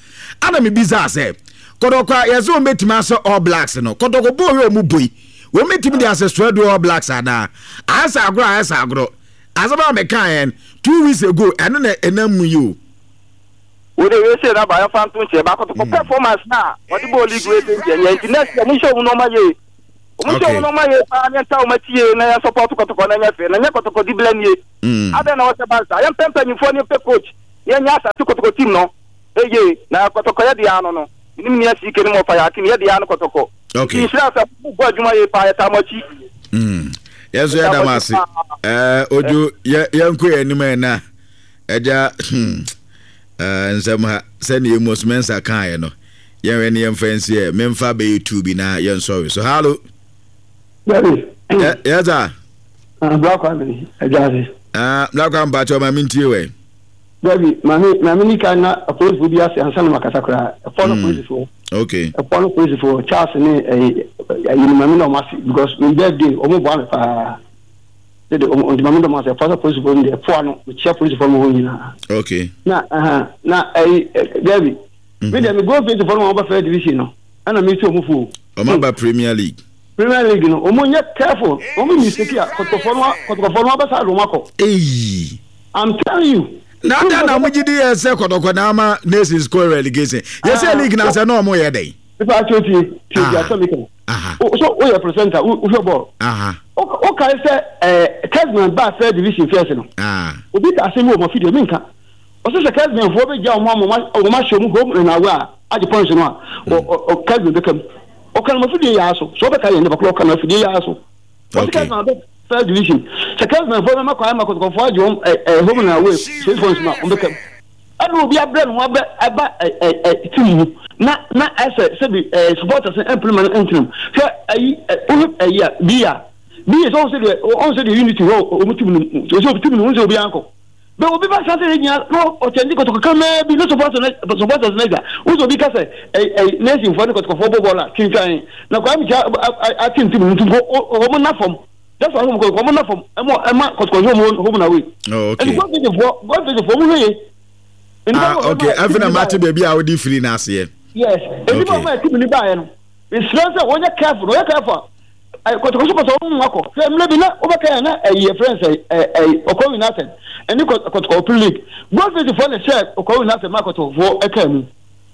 [SPEAKER 1] ana mɛ bisa sɛ kɔtɔkɔ a yɛsɛ wɔn bɛtumi asɛ All Blacks no kɔtɔkɔ bɔ yɛ ɔmo bɔ yi wɔn bɛtumi de asɛ soɛdo All Blacks anaa ayɛ sɛ agorɔ ayɛ sɛ agorɔ asɛm a mɛ kaa yɛn two weeks ago ɛno na ɛnam mu yi o.
[SPEAKER 6] Wode we say na ba yɛfa nto nkyɛn ba kɔtɔkɔ performance na wɔde bɔɔ league wey nkyɛn yɛn nti next year mo nhyɛ wɔn nneɛma yie.
[SPEAKER 13] Ɔmo nhyɛ ɔmo nɔɔma yie paa ne yɛnta ɔmo akyi yie na yɛn support kɔtɔkɔ na ɛnyɛ fɛ na nyɛ kɔtɔkɔ di blɛ nie. Adɛn na wɔhyɛ ban saa? Yɛmpɛ mpanyinfoɔ ne yɛmpɛ coach na yɛnyɛ asase kɔtɔkɔ team no eye na kɔtɔkɔ yɛ deɛ ano no menim nea C K ne mo ɔfa yɛ akim yɛ deɛ ano kɔtɔkɔ. Nti nhyira sɛ mo bɔ adwuma yie paa yɛtaa mo akyi.
[SPEAKER 1] Mm. Yɛn nso yɛda mo ase. Ɛɛ Ojo yɛ yɛnkɔ yɛn anim ɛ na ɛgya hmm ɛɛ nsɛm ha sɛnea Amos Mensah kaeɛ no yɛnhwɛ ne yɛmfa nsi ɛ memfa bɛyɛ tu bi na yɛnsɔre so. Hallo.
[SPEAKER 14] Daddy.
[SPEAKER 1] Yes sir.
[SPEAKER 14] Ah, Black Kwame, ɛgya ase.
[SPEAKER 1] Ah, Black Kwame mpakyɛ ma mentie wɛ.
[SPEAKER 14] Dabi, maame maame ni kan na apolisifoɔ bi ase ansa na makasa koraa. Ɛfɔ no polisifoɔ.
[SPEAKER 1] Okay.
[SPEAKER 14] Ɛfɔ no polisifoɔ Charles ne ɛyi ɛyi no maame na ɔmo ase because my birthday ɔmo boa me paa. Dede ɔmo nti maame na ɔmo ase ɛfɔ sɛ polisifoɔ no deɛ ɛfoa no mekyia polisifoɔ no hɔ nyinaa.
[SPEAKER 1] Okay.
[SPEAKER 14] Na ɛhɛn na ɛyi Dabi. Me deɛ me goal face fɔ no wɔn ba first division no ɛna me ti wɔn fo.
[SPEAKER 1] Wɔn aba Premier League.
[SPEAKER 14] Premier League no wɔn nyɛ careful wɔn mistake a kɔtɔkɔfɔ no kɔtɔkɔfɔ no abɛsa de wɔn akɔ.
[SPEAKER 1] Eyi.
[SPEAKER 14] I'm telling you.
[SPEAKER 1] Na adan na wɔn gyi di yɛ sɛ kɔtɔkɔ na ama nations kɔ relegation yɛ sɛ league na sɛ na wɔn yɛ dɛ.
[SPEAKER 14] Nipa ati o tie tie tie asɛm mi kan. So o yɛ presenter o hwɛ bɔɔl. O kae sɛ ɛɛ Kesman ba first division first no. Obi ka asɛm bi wɔ mo afidie mi nka. Ɔsɛ sɛ Kesmanfoɔ bɛgya wɔn ama wɔn ahyɛ wɔn home and away a agye points no a Kesman bɛka mu. Ɔka no mo afidie yɛ aso so ɔbɛka yɛn nipa korɔ ɔka no afidie yɛ aso. Ɔsɛ Kesman bɛ first division sɛ Kesmanfoɔ bɛma kwan ama kɔtɔkɔfoɔ agye wɔn ɛɛ home and away six points no a wɔn bɛka mu. Ɛna obi abrɛ ne ho abɛ ɛba ɛ ɛ team mu na na ɛsɛ sɛbi ɛ supporters ɛmpene ma no ɛntena mu hwɛ ɛyi ɛ wohwɛ ɛyi a bi a bi yɛ sɛ ɔn sɛ deɛ ɔn sɛ deɛ unity hɔ ɔmo team no mu sɛ team no mu sɛ obi ankɔ bɛ obi ba sanse yɛ nyina na ɔkyɛnde kɔtɔkɔ kamaa bi ne supporters ne supporters ne gya wosɛ obi ka sɛ ɛ ɛ nation foɔ ne kɔtɔkɔfoɔ bɔ bɔɔl a twintwan na kwame kya atem team no nti ɔmo na fam. That's why home kɔtɔkɔ ɔmo na fam ɛmo ɛma kɔtɔkɔ home home na away.
[SPEAKER 1] Oh, okay.
[SPEAKER 14] Ɛdi gɔfɛti foɔ gɔfɛti foɔ ɔmo hwɛ yie.
[SPEAKER 1] Ah, okay. Afei na mate baabi a wode firi no aseɛ.
[SPEAKER 14] Yes. Ɛdi bɔ ɔmo ɛti mi ni baayɛ no. Mesrɛ sɛ wɔnyɛ careful wɔnyɛ careful a kɔtɔkɔ so kɔtɔ ɔmo akɔ. Hwɛ mmerɛ bi na wobɛka yɛn na ɛyi yɛ friends ɛyi ɛyi Ɔkɔɔ United ɛne kɔtɔkɔ Open League. Gɔfɛti foɔ na ɛhyɛ Ɔkɔɔ United ma kɔtɔkɔ foɔ ɛkaa mu.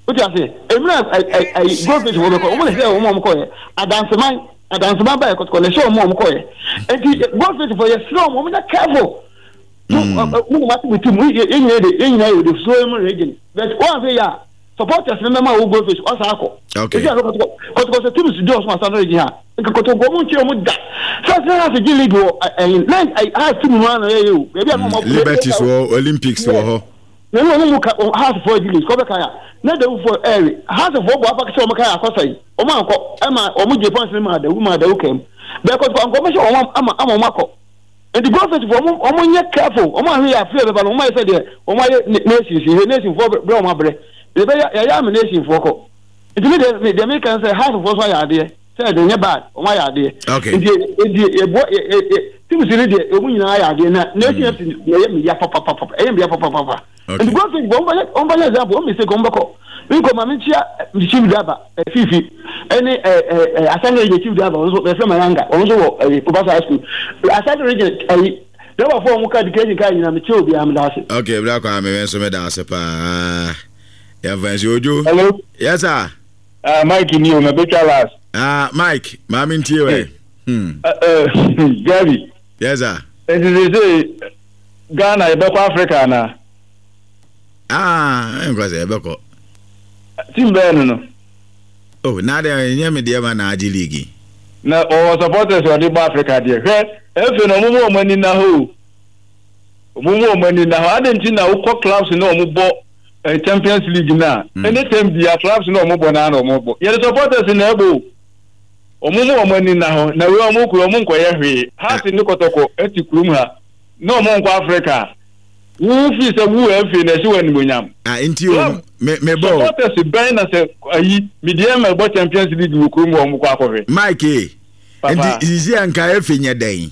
[SPEAKER 14] Wote aseɛ? Mmerɛ ɛyi ɛyi gɔfɛti foɔ bɛkɔ ɔmo na ɛhyɛ ɔmo a ɔmo kɔɛ. Adanseman Adanseman baayɛ kɔtɔkɔ na ɛhyɛ ɔmo a ɔmo kɔɛ. Nti gɔfɛti foɔ yɛsrɛ ɔmo ɔmo nyɛ careful. Mo mo ma ti ti mu yɛ nyina de yɛ nyina yɛ de so mu region but wɔn afɛ yɛ a supporters ne mɛma wo go face ɔsa akɔ.
[SPEAKER 1] Okay.
[SPEAKER 14] Esi akɔ kɔtɔkɔ kɔtɔkɔ sɛ teams di ɔsoma san region ha nka kɔtɔkɔ ɔmo nkyɛn ɔmo da sɛ sɛ ha sɛ G League wɔ ɛyin na ha team mu ano yɛ yɛ o baabi a na ɔmo
[SPEAKER 1] Liberties wɔ Olympics wɔ hɔ.
[SPEAKER 14] Na ɛnu ɔmo mu ka house fo G League kɔ bɛ ka ya na dawu fo ɛɛri house fo bɔ afa sɛ ɔmo ka yɛ akɔsa yi ɔmo ankɔ ɛma ɔmo gye points ne ma adawu ma adawu kɛm bɛɛ kɔtɔkɔ ankɔ ɔmo hyɛ ɔmo ama ama ɔmo akɔ. Nti gɔfɛt fo ɔmo ɔmo nyɛ careful ɔmo ahwɛ yɛ afei bɛba no ɔmo ayɛ sɛ deɛ ɔmo ayɛ nation si nation fo brɛ ɔmo abrɛ ebe yɛ yɛ ama nation fo kɔ nti mi deɛ mi deɛ mi kan sɛ house fo so ayɛ adeɛ sɛ ɛde nyɛ bad ɔmo ayɛ adeɛ nti nti ɛbɔ ɛ ɛ ɛ team si ne deɛ ɔmo nyinaa ayɛ adeɛ na nation F C na ɛyɛ mi ya papapapa ɛyɛ mi ya papapapa nti gɔfɛt fo ɔmo bɛ ɔmo bɛ yɛ example ɔmo mistake ɔmo bɛkɔ mi nkɔ maame nkyia chief driver fifi ɛne ɛ ɛ ɛ Asante region chief driver ɔno nso ɛfɛ Mayanga ɔno nso wɔ ɛyi Kubasa high school Asante region ɛyi driver fo ɔmo ka education kaa nyina mi kyɛ obi a mi da ase.
[SPEAKER 1] Okay, bra kwa mi nso mi da ase paa yɛn fɛn si ojo.
[SPEAKER 10] Hello.
[SPEAKER 1] Yes sir.
[SPEAKER 10] Ah uh, Mike ni o ma betwa last.
[SPEAKER 1] Ah uh, Mike maame ntie wɛ. Hmm.
[SPEAKER 10] Uh, uh, Gabi.
[SPEAKER 1] Yes sir.
[SPEAKER 10] Eti sɛ sɛ Ghana yɛ bɛ kɔ Africa na.
[SPEAKER 1] Ah, nkɔ sɛ yɛ bɛ kɔ.
[SPEAKER 10] Team bɛɛ no no.
[SPEAKER 1] Oh, na de nyɛ me deɛ ma na agye league.
[SPEAKER 10] Na ɔwɔ supporters ɔde bɔ Africa deɛ. Hwɛ, efe na ɔmo mu ɔmo ani na hɔ. Ɔmo mu ɔmo ani na hɔ. Ade nti na wokɔ clubs na ɔmo bɔ eh, Champions League na. Ɛne time bia clubs na ɔmo bɔ na na ɔmo bɔ. Yɛde supporters na ɛbɔ. Ɔmo mu ɔmo ani na hɔ. Na wei ɔmo kuro ɔmo nkɔyɛ hwee. Hearts ne kɔtɔkɔ ɛte kurom ha. Na ɔmo nkɔ Africa. Wo fi sɛ wo efe na ɛhyɛ wɔ animonyam.
[SPEAKER 1] Ah, nti o me me bɔ.
[SPEAKER 10] Supporters bɛn na sɛ ayi media ma bɔ Champions League wɔ kurom wɔ mo kɔ akɔhwɛ.
[SPEAKER 1] Mike e. Nti sisi anka efe nyɛ dɛn.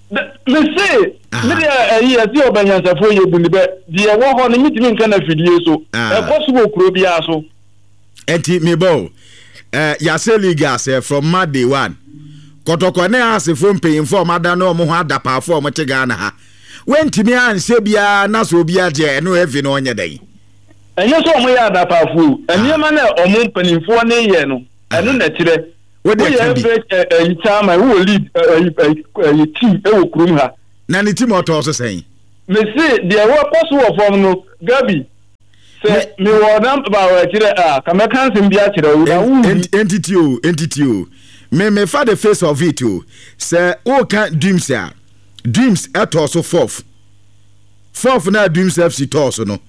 [SPEAKER 10] Me se me de ayi ase ɔbanyansafo yɛ bu ne bɛ deɛ wɔ hɔ no mitimi nka na fidie so. Ɛkɔ so wɔ kuro biara so.
[SPEAKER 1] Nti me bɔ eh yase league ase from Monday one. Kɔtɔkɔ ne asefo mpanyimfo ɔmada no ɔmo ho adapaafo ɔmo te Ghana ha. Wentimi anhyɛ biara na so obi agye ɛno efe no ɔnyɛ dɛn.
[SPEAKER 10] Ɛnyɛ sɛ ɔmo yɛ adapaafo nneɛma na ɔmo mpanimfoɔ ne yɛ no ɛno na kyerɛ.
[SPEAKER 1] Wode
[SPEAKER 10] ɛka bi. Woyɛ ɛyi chairman wowɔ lead ɛyi ɛyi team ɛwɔ kurom ha.
[SPEAKER 1] Na ne team ɔtɔɔ so sɛn?
[SPEAKER 10] Mese deɛ wɔkɔ so wɔ fam no Gabi sɛ mewɔ namba wɔ akyirɛ a ka mɛka nsɛm bi akyerɛ wo na wonhu.
[SPEAKER 1] Entity o entity o me mefa the face of it o sɛ woka Dreams a Dreams ɛtɔɔ so fourth fourth na Dreams F C tɔɔ so no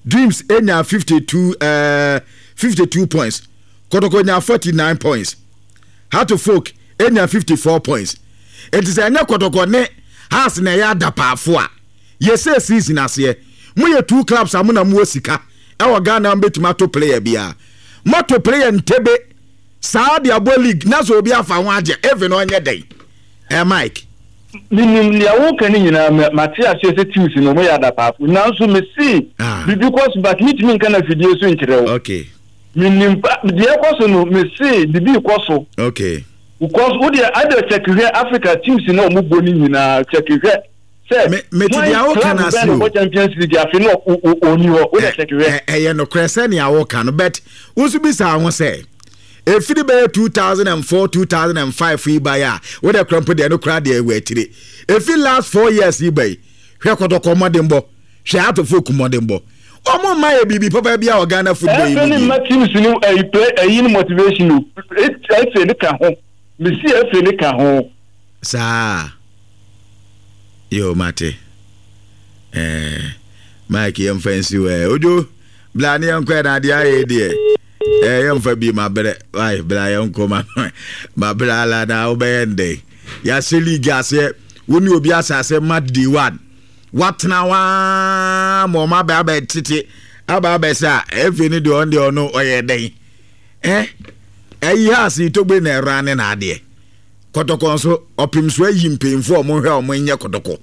[SPEAKER 1] Dreams enya fifty two ɛɛ fifty two points Kotoko nya forty nine points Heart of Folk enya fifty four points enti sɛ ɛnyɛ Kotoko ne Hearts na ɛyɛ adapaafo a yɛsɛ season aseɛ moyɛ two clubs a mo na mowɔ sika ɛwɔ Ghana a mobɛtumi ato player biara moato player ntebe saa de abɔ league na sɛ obi afa ho agye even ɔnyɛ dɛn ɛ Mike.
[SPEAKER 10] Menim nea woka no nyinaa, mate aseɛ sɛ teams no wɔyɛ adapaafo, nanso mese biribi kɔ so but mentumi nka no afidie so nkyerɛ wo.
[SPEAKER 1] Okay.
[SPEAKER 10] Menim pa deɛ ɛkɔ so no, mese biribi rekɔ so.
[SPEAKER 1] Okay.
[SPEAKER 10] Because wo deɛ ada check hwɛ Africa teams na wɔn bɔ no nyinaa check hwɛ sɛ
[SPEAKER 1] Me mete
[SPEAKER 10] hwan
[SPEAKER 1] deɛ woka
[SPEAKER 10] club
[SPEAKER 1] no
[SPEAKER 10] bɛn
[SPEAKER 1] ase
[SPEAKER 10] na
[SPEAKER 1] o.
[SPEAKER 10] ɔbɔ Champions League afe no ɔnni hɔ wo deɛ check hwɛ.
[SPEAKER 1] Ɛ ɛyɛ nokorɛ sɛnea woka no but wo nso bisa wo ho sɛ ɛfiri bɛyɛ two thousand and four two thousand and five yi baeɛ a wo deɛ kora mpo deɛ no koraa deɛ ɛwɔ akyire ɛfiri last four years yi ba yi hwɛ kɔtɔkɔ mmɔdenbɔ hwɛ atofo ku mmɔdenbɔ wɔn mma yɛ biribi papa bi a wɔ Ghana football yi
[SPEAKER 10] Ɛfɛ
[SPEAKER 1] mu
[SPEAKER 10] ne
[SPEAKER 1] bio.
[SPEAKER 10] mma teams no ɛyi play ɛyi no motivation o ɛfɛ ne ka ho mesi ɛfɛ ne ka ho.
[SPEAKER 1] Saa yo mate eh, Mike yɛmfa nsi hɔ ɛ odwo bla ne yɛnkɔ ɛ na adeɛ ayɛ deɛ eh, yɛmfa bi mabrɛ ai bla yɛnkɔ ma mabrɛ ala na wobɛyɛ ndɛn yɛahyɛ league aseɛ wo ne obi ahyɛ aseɛ match day one watena waa ma ɔma abɛ abɛ tete aba abɛ sɛ a ɛfei ne deɛ ɔno deɛ ɔno ɔyɛ dɛn eh ɛyi ha ase togbe na ɛra ne na adeɛ Kɔtɔkɔ nso, ɔpem so ayi mpanyimfoɔ a wɔnhwɛ a wɔnyɛ kɔtɔkɔ.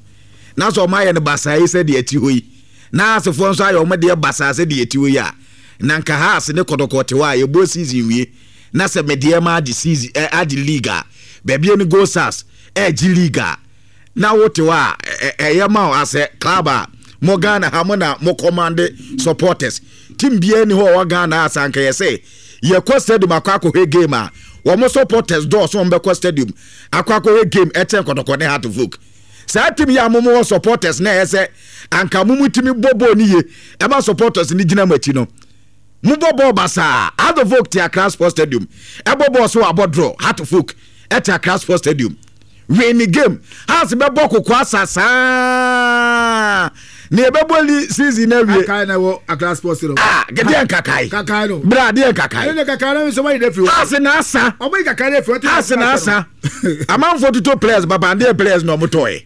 [SPEAKER 1] Na sɛ wɔayɛ no basaa yi sɛdeɛ ɛte hɔ yi, na Haasefoɔ nso ayɛ wɔn deɛ basaa sɛdeɛ ɛte hɔ yi a, na nka Haase ne kɔtɔkɔ te hɔ a, yɛbɔ season wie, na sɛ Medeɛma agye season, ɛ, agye league a, baabi ne Gold Stars ɛregye league a, na wote hɔ a, ɛyɛ ma wo asɛ club a mo Ghana ha mo na mo command supporters. Team biara ni hɔ a ɔwɔ Ghana a sɛ anka yɛ sɛ yɛkɔ stadium akɔ akɔhwɛ game a, wɔn supporters dɔɔso wɔn bɛkɔ stadium akɔ akɔhwɛ game ɛkyɛn kɔtɔkɔ ne Heart of Oak. Saa team yi a mo wɔ supporters na ɛyɛ sɛ anka mo mo tumi bɔ bɔɔl no yie ɛma supporters no gyina mo akyi no. Mo bɔ bɔɔl basaa. Heart of Oak te Accra Sports Stadium ɛbɔ bɔɔl so abɔ draw. Heart of Oak ɛte Accra Sports Stadium win ne game. Hearts bɛbɔ koko asa saa na yɛbɛbɔ li season na wie.
[SPEAKER 2] Kakai na ɛwɔ Accra Sports Stadium.
[SPEAKER 1] Ah, deɛ nkakae.
[SPEAKER 2] Kakai no.
[SPEAKER 1] Bra deɛ nkakae.
[SPEAKER 2] Ɛne kakai no nso wɔyi n'afiri hɔ.
[SPEAKER 1] Hearts na asa.
[SPEAKER 2] Ɔmo yi kakai no afiri hɔ.
[SPEAKER 1] Hearts na asa. Amanfoɔ tuto players baba deɛ players na ɔmo tɔɛ.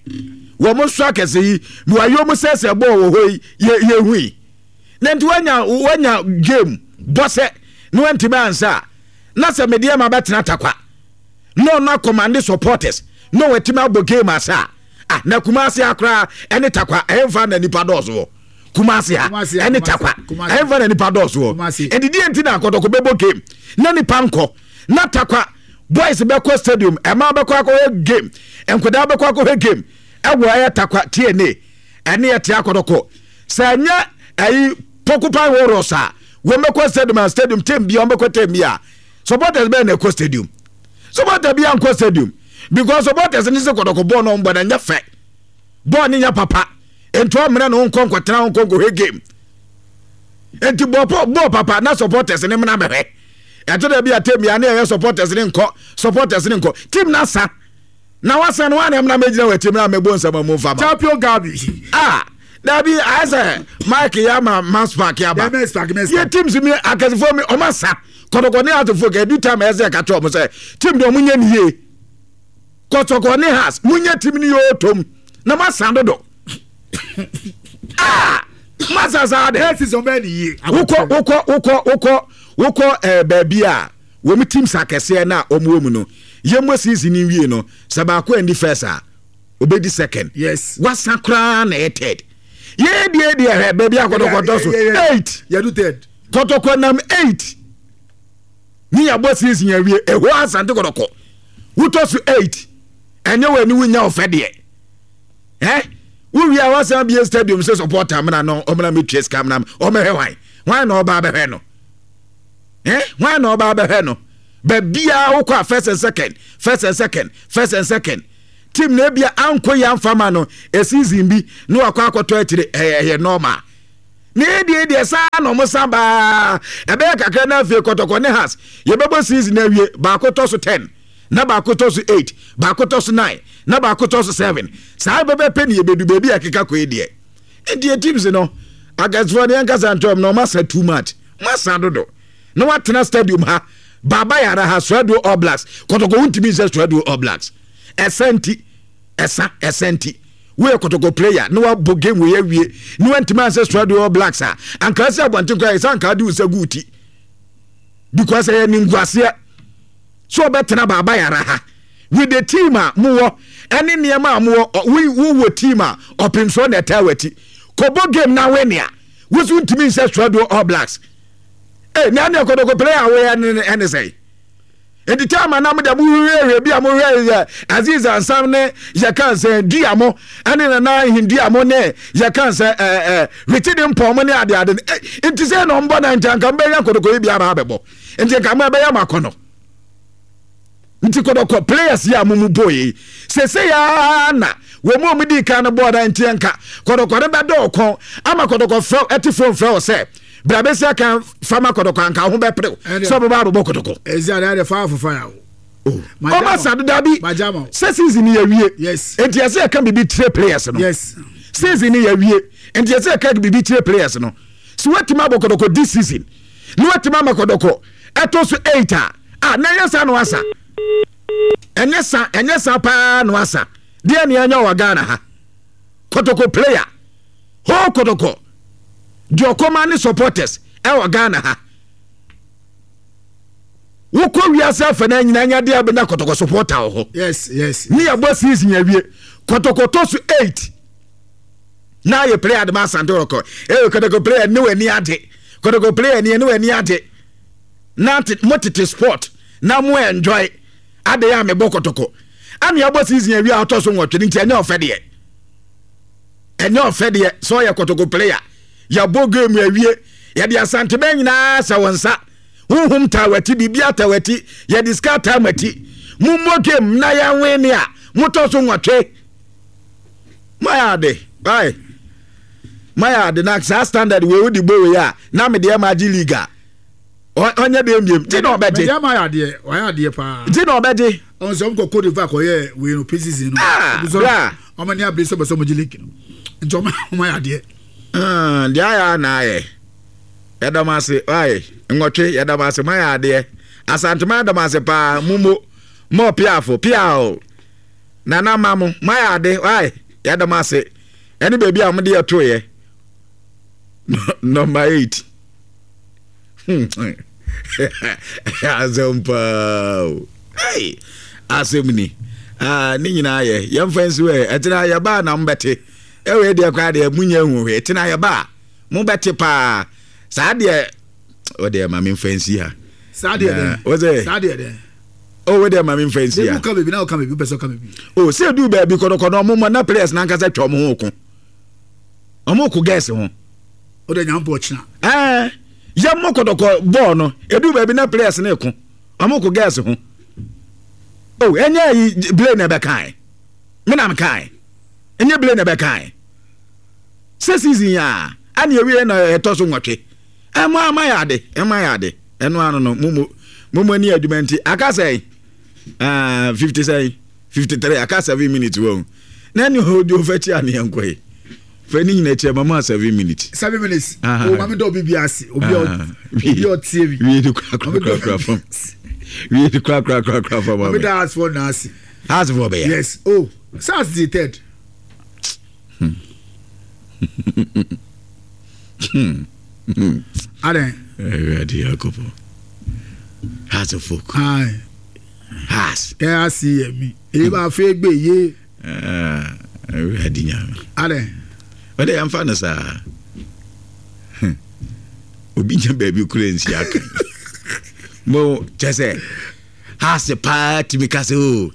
[SPEAKER 1] Wɔn nso akɛse yi, na wɔayɛ ɔmo sɛ sɛ bɔɔl wɔ hɔ yi, yɛ yɛ hu yi. Na nti wanya wanya game bɔ sɛ na wantumi ansa a, na sɛ medeɛ ma bɛtena takwa. Na ɔno akɔmande supporters na watumi abɔ game asa a, ah, na Kumasi ha koraa ɛne takwa ɛmfa na nipa dɔɔso wɔ Kumasi ha ɛne takwa ɛmfa na nipa dɔɔso wɔ ɛnti deɛ nti na akɔtɔkɔ bɛbɔ game na nipa nkɔ na takwa boys bɛkɔ stadium ɛma bɛkɔ akɔhwɛ game nkwadaa bɛkɔ akɔhwɛ game ɛwɔ ɛyɛ takwa T N A ɛne ɛte akɔtɔkɔ sɛ ɛnyɛ ɛyi Porcupine Warriors a wɔn bɛkɔ stadium a stadium team bia wɔn bɛkɔ team bia supporters bɛyɛ na ɛkɔ stadium supporter bi ankɔ stadium because supporters ne sɛ kɔtɔkɔ bɔɔl na ɔmbɔ na nyɛ fɛ bɔɔl ne nyɛ papa nti ɔmmerɛ na ɔnkɔ nkɔtena ɔnkɔ nkɔhwɛ game nti bɔɔl bɔɔl papa na supporters ne mena bɛhwɛ ɛtɔ da bi a team ya ne ɛyɛ supporters ne nkɔ supporters ne nkɔ team na sa na wasan no wane mena mɛgyina wɔ akyi mena mɛbɔ nsɛm mu mfa ma
[SPEAKER 2] champion Gabi
[SPEAKER 1] ah dabi ayɛ sɛ Mike yɛ ama Max Park yɛ aba yɛ teams mi akɛsefoɔ mi ɔma sa kɔtɔkɔ ne asefo kɛ edu time ɛsɛ ɛka kyerɛ ɔmo sɛ team deɛ ɔmo nyɛ ne yie kɔtɔkɔ ne has mo nyɛ team ne yɛ otom na mo asan dodo ah mo asan saa de wokɔ wokɔ wokɔ wokɔ wokɔ ɛɛ baabi a wɔn teams akɛseɛ na wɔn wɔ mu no yɛ mo season ni wie no sɛ baako ɛndi first a obedi second
[SPEAKER 2] yes
[SPEAKER 1] wasa koraa na ɛyɛ third yɛ deɛ deɛ hɛ baabi a kɔtɔkɔ tɔ so eight
[SPEAKER 2] yɛdu third
[SPEAKER 1] kɔtɔkɔ nam eight ne yɛabɔ season awie ɛhɔ asante kɔtɔkɔ wotɔ so eight ɛnyɛ wɔ ani wonya ɔfɛ deɛ ɛ wowie a wasan bie stadium sɛ supporter mena no ɔmena metua sika mena ɔmɛhwɛ hwan hwan na ɔba abɛhwɛ no ɛ hwan na ɔba abɛhwɛ no Baabiara wokɔ a, first and second, first and second, first and second. Team na ebia ankɔ yi amfama no a season bi na wakɔ akɔtɔ akyire, ɛyɛ ɛyɛ normal. Na ɛdeɛ deɛ saa na ɔmo san baa ɛbɛyɛ kakra na afei Kɔtɔkɔ ne Hearts yɛbɛbɔ season awie, baako tɔ so ten na baako tɔ so eight, baako tɔ so nine na baako tɔ so seven. Saa bɛbɛpɛ ne yɛbɛdu baabi a keka kɔ yi deɛ. Nti yɛ teams no akɛsefoɔ no, yɛnkasa ntɔm na ɔmo asa too much, mo asa dodo na watena stadium ha, Baba Yara ha, Swedru All Blacks, Kɔtɔkɔ wontumi nsɛ Swedru All Blacks. Ɛsɛ nti ɛsa ɛsɛ nti woyɛ Kɔtɔkɔ player na wabɔ game wei awie na wantumi ansɛ Swedru All Blacks a, anka sɛ abɔnten koraa yɛ sɛ anka de wo nsa gu wo ti, because ɛyɛ ninguaseɛ so ɔbɛtena Baba Yara ha with the team a mowɔ ɛne nneɛma a mowɔ. Wowɔ team a ɔpemsoɔ na ɛtaa w'akyi kɔbɔ game na wɛnea woso ntumi nsɛ Swedru All Blacks. Eh, na ne Kɔtɔkɔ player a woyɛ ɛne sɛn? Nti time a na mo de mo hwehwɛ bi a mo hwɛ yɛ Aziz Ansam ne yɛka sɛ dua mo ɛne Nana Ahindua mo ne yɛka sɛ ɛɛ ɛɛ Richard Mpɔn mo ne ade ade. Nti sɛ na ɔmbɔ na nti anka mbɛnya Kɔtɔkɔ yi bi aba abɛbɔ, nti nka mo ɛbɛyɛ mo akɔnɔ. Nti Kɔtɔkɔ players yi a mo mu bɔ yi sese yaa na wɔn mu a wɔn di kan no bɔɔl na nti nka Kɔtɔkɔ no bɛdɔ ɔkɔn ama Kɔtɔkɔ frɛ ɛte phone frɛ wɔ sɛ bra bɛsi aka fama Kɔtɔkɔ, anka ho bɛperew sɛ ɔbɛba abɛbɔ Kɔtɔkɔ.
[SPEAKER 2] Ɛzi ade ade fire for fire o.
[SPEAKER 1] Ɔma sa deda bi sɛ season ni yɛwie, nti ɛsɛ yɛka biribi kyerɛ players no. Season ni yɛwie, nti ɛsɛ yɛka biribi kyerɛ players no so watumi abɔ Kɔtɔkɔ this season na watumi ama Kɔtɔkɔ ɛtɔ so eight a a na ɛnyɛ sa no asa, ɛnyɛ sa, ɛnyɛ sa paa no asa deɛ ne ɛnyɛ wɔ Ghana ha. Kɔtɔkɔ player hɔ, Kɔtɔkɔ deɛ ɔkɔma ne supporters ɛwɔ Ghana ha, wokɔ wiase afa no nyinaa nya deɛ abɛnya Kɔtɔkɔ supporter wɔ hɔ.
[SPEAKER 2] Yes yes.
[SPEAKER 1] Ne yɛbɔ season awie, Kɔtɔkɔ tɔ so eight na ayɛ player de ma Asante Kɔtɔkɔ. Ɛyɛ Kɔtɔkɔ player ne w'ani agye, Kɔtɔkɔ player ne ne w'ani agye na mo tete sport na mo enjoy ade a mebɔ Kɔtɔkɔ ana yɛbɔ season awie a ɔtɔ so nwɔtwe no. Nti ɛnyɛ ɔfɛ deɛ, ɛnyɛ ɔfɛ deɛ sɛ ɔyɛ Kɔtɔkɔ player, yɛbɔ game awie, yɛde Asantebɛn nyinaa sɛ wɔn nsa honhom taa w'akyi, biribi ata w'akyi, yɛde sika taa m'akyi, mommɔ game na yɛnwe ne a motɔ so nwɔtwe. Mayɛ ade ai, mayɛ ade na saa standard wei wode bɔ wei a na mede ɛma agye league a ɔnyɛ deɛ mbiem gye na ɔbɛgye.
[SPEAKER 2] Mɛdi ama ayɛ adeɛ, wayɛ adeɛ paa.
[SPEAKER 1] Gye na ɔbɛgye.
[SPEAKER 2] Ɔn sɛ ɔmo kɔ Cote d'Ivoire kɔyɛ wei no pre-season no.
[SPEAKER 1] Ah, bra.
[SPEAKER 2] Ɔmo ani abere sɛ ɔbɛ sɛ ɔmo gye league no, nti ɔmo ɔmo ayɛ adeɛ.
[SPEAKER 1] Deɛ ayɛ a na ayɛ, yɛdam ase ayɛ nwɔtwe, yɛdam ase mo ayɛ adeɛ. Asantema yɛdam ase paa, mumo mo piafo piao nana ma mo mo ayɛ ade ayɛ, yɛdam ase ɛne baabi a mo de yɛto yɛ number eight. Asɛm paa o, hey, asɛm ni. Ah, ne nyinaa yɛ yɛmfa nsi hɔ. Ɛtena yɛbaa na mobɛte ɛwɔ deɛ koraa deɛ munya hu hwee. Tena yɛbaa mobɛte paa saa deɛ wodeɛ ma memfa nsi ha.
[SPEAKER 2] Saa deɛ dɛ.
[SPEAKER 1] Wo sɛ
[SPEAKER 2] saa deɛ dɛ.
[SPEAKER 1] O, wo deɛ ma memfa nsi ha.
[SPEAKER 2] Ka baabi na woka baabi, wopɛ sɛ woka baabi.
[SPEAKER 1] O sɛ du baabi kɔdɔkɔdɔ ɔmo mɔ na players nankasa twa ɔmo ho ko, ɔmo ko girls ho.
[SPEAKER 2] Wode nyampɔ ɔkyena.
[SPEAKER 1] Ɛɛ, yɛmmɔ kɔdɔkɔ bɔɔl no, edu baabi na players ne ko, ɔmo ko girls ho o. Ɛnyɛ yi blade na ɛbɛkae me na mekae, ɛnyɛ blade na ɛbɛkae sɛ season yi a ɛne ewie na ɛtɔ so nwɔtwe. Ɛmo ama yɛ ade, ɛmo ayɛ ade. Ɛno ano no momo momo ani adwuma nti aka sɛn? Ɛɛ, fifty sɛn, fifty three, aka seven minutes wɔ na ɛne hɔ di ofa kyi a ne yɛn kɔ yi fɛ ne nyina kyerɛ mama seven minutes.
[SPEAKER 2] Seven minutes o, maame dɔ obi bi ase, obi a obi a ɔtie bi.
[SPEAKER 1] Wie de kura kura kura kura fam, wie de kura kura kura kura fam.
[SPEAKER 2] Maame da house for na ase.
[SPEAKER 1] House for bɛyɛ.
[SPEAKER 2] Yes o, SARS di third.
[SPEAKER 1] Hmm. Hmm.
[SPEAKER 2] Adɛn?
[SPEAKER 1] Awurade Yakobɔ. Hearts of Oak.
[SPEAKER 2] Aye.
[SPEAKER 1] Hearts.
[SPEAKER 2] Ɛ ase yɛ mi. Eyi ba afei egbe ye.
[SPEAKER 1] Awurade Nyame.
[SPEAKER 2] Adɛn?
[SPEAKER 1] Ɔde yɛmfa no saa. Obi nya baabi kura nsi aka. Mo kyɛ sɛ Hearts paa tumi ka sɛ o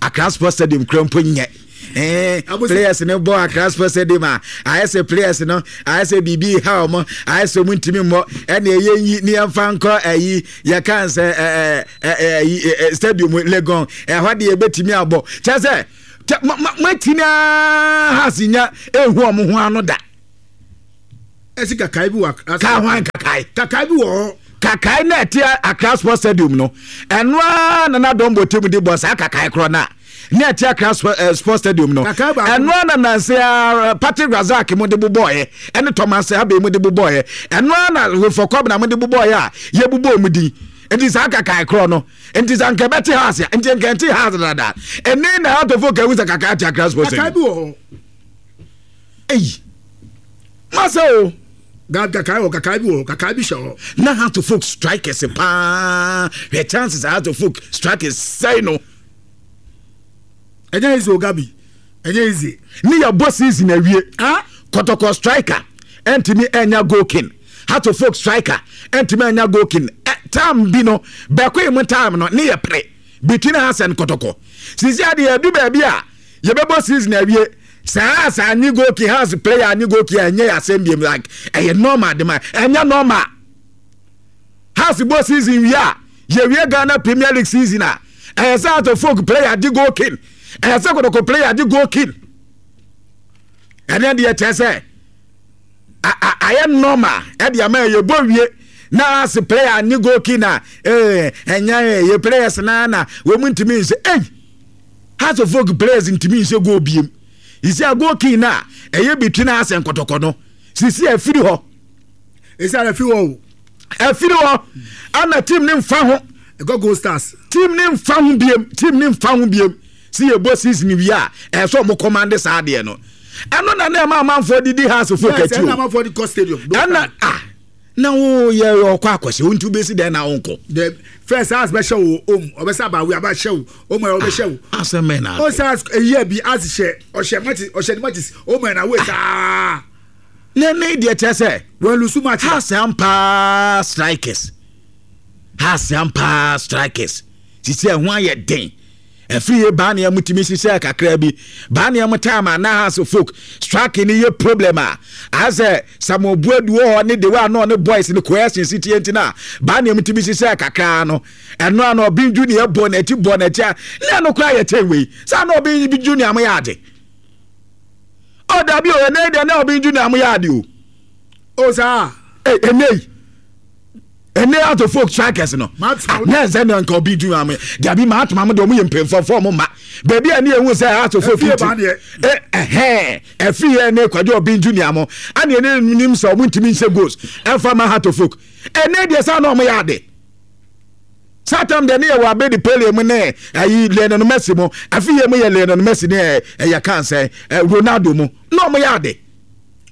[SPEAKER 1] Accra Sports Stadium kura mpo nyɛ. Eh, players no bɔ Accra Sports Stadium a ayɛ sɛ players no ayɛ sɛ biribi ha ɔmo, ayɛ sɛ ɔmo ntumi mmɔ, ɛna ɛyɛ nyi ne yɛmfa nkɔ ɛyi yɛka sɛ ɛɛ ɛɛ stadium Legon ɛhɔ deɛ yɛbɛtumi abɔ kyɛ sɛ matumi Hearts nya ehu ɔmo ho ano da.
[SPEAKER 2] Ɛsi kakae bi wɔ
[SPEAKER 1] ka ho kakae
[SPEAKER 2] kakae bi wɔ hɔ.
[SPEAKER 1] Kakae na ɛte Accra Sports Stadium no ɛno ara na na dɔmbɔ team de bɔ saa kakae korɔ no a ne ɛte Accra Sports Stadium no ɛno ara na nanse Patrick Razak mu de bobɔɔyɛ ɛne Thomas Abe mu de bobɔɔyɛ ɛno ara na Wilfred Kobna mu de bobɔɔyɛ a yɛbobɔɔ mu din nti saa kakae korɔ no nti sɛ nka ɛbɛte Hearts nti nka ɛnte Hearts dada ɛne na atɔfo ka ehu sɛ kakae te Accra Sports Stadium.
[SPEAKER 2] Kakae bi wɔ hɔ.
[SPEAKER 1] Eyi masa o.
[SPEAKER 2] Kakae wɔ kakae bi wɔ kakae bi hyɛ hɔ.
[SPEAKER 1] Na Hearts of Oak strikers paa hwɛ chances Hearts of Oak strikers sɛn no.
[SPEAKER 2] Ɛnyɛ easy o Gabi, ɛnyɛ easy.
[SPEAKER 1] Ne yɛ bɔ season awie. Kɔtɔkɔ striker ɛntumi ɛnya goal king. Hearts of Oak striker ɛntumi ɛnya goal king. Time bi no bɛko yi mu time no ne yɛ pere between Hearts and Kɔtɔkɔ. Sisi ade yɛ du baabi a yɛbɛbɔ season awie. Saa saa ni goal king Hearts player ni goal king ɛnyɛ asɛm biem like ɛyɛ normal de ma ɛnyɛ normal. Hearts bɔ season wie a yɛwie Ghana Premier League season a ɛyɛ sɛ Hearts of Oak player di goal king, ɛyɛ sɛ Kɔtɔkɔ player di goal king. Ɛnɛ deɛ kyerɛ sɛ ayɛ normal ɛde ama yɛ bɔ wie na Hearts player ni goal king a ɛɛ ɛnyɛ yɛ players na na wɔn ntumi nhyɛ ɛy Hearts of Oak players ntumi nhyɛ goal biem. Isi a goal king na ɛyɛ between Hearts and Kɔtɔkɔ no sisi afiri hɔ.
[SPEAKER 2] Esi afiri hɔ o.
[SPEAKER 1] Afiri hɔ ana team ne nfa ho.
[SPEAKER 2] Ɛkɔ Gold Stars.
[SPEAKER 1] Team ne nfa ho biem, team ne nfa ho biem. Si yɛ bɔ season wie a ɛsɛ ɔmo command saa adeɛ no. Ɛno na na ɛma amanfoɔ didi Hearts fo kɛti o.
[SPEAKER 2] Ɛna amanfoɔ di kɔ stadium.
[SPEAKER 1] Ɛna ah na wo yɛ ɔkɔ akɔhyɛ o nti besi dɛn na wo nkɔ.
[SPEAKER 2] The first Hearts bɛhyɛ wo om ɔbɛsɛ abawe abahyɛ wo om ɛyɛ ɔbɛhyɛ wo.
[SPEAKER 1] Asɛm mɛ na.
[SPEAKER 2] O sɛ Hearts eyi bi Hearts hyɛ ɔhyɛ matches ɔhyɛ ne matches om ɛna wo saa.
[SPEAKER 1] Ne ne deɛ kyerɛ sɛ.
[SPEAKER 2] Wɔn lusu match.
[SPEAKER 1] Hearts ampa strikers. Hearts ampa strikers. Sisi ɛho ayɛ den. Ɛfiri yɛ baa nea mutumi hyehyɛ kakra bi baa nea mo time a na Hearts folk strike ni yɛ problem a asɛ Samuel Buadu wɔ hɔ ne de wa no ne boys ne cohesion si tie nti na baa nea mutumi hyehyɛ kakra no ɛno ano Obin Junior bɔ n'akyi bɔ n'akyi a na no kora yɛ kyɛn wei saa na Obin Junior mo yɛ ade o dabi o ɛnɛ deɛ na Obin Junior mo yɛ ade o
[SPEAKER 2] o saa
[SPEAKER 1] ɛnɛ yi ɛnɛ Hearts of Oak strikers no na ɛsɛ na nka Obin Junior mo dabi maa tuma mo de ɔmo yɛ mpanyinfoɔ ɔmo ma beebi a ne ehu sɛ Hearts of Oak ti ɛhɛn ɛfiri yɛ ne kwadwo Obin Junior mo ɛna ɛne nim sɛ ɔmo ntumi nhyɛ goals ɛnfa ma Hearts of Oak ɛnɛ deɛ saa na ɔmo yɛ ade saa tam deɛ ne yɛ wɔ abedi Pele mu ne ɛyi Lionel Messi mu afi yɛ mu yɛ Lionel Messi ne ɛyɛ kan sɛ Ronaldo mu na ɔmo yɛ ade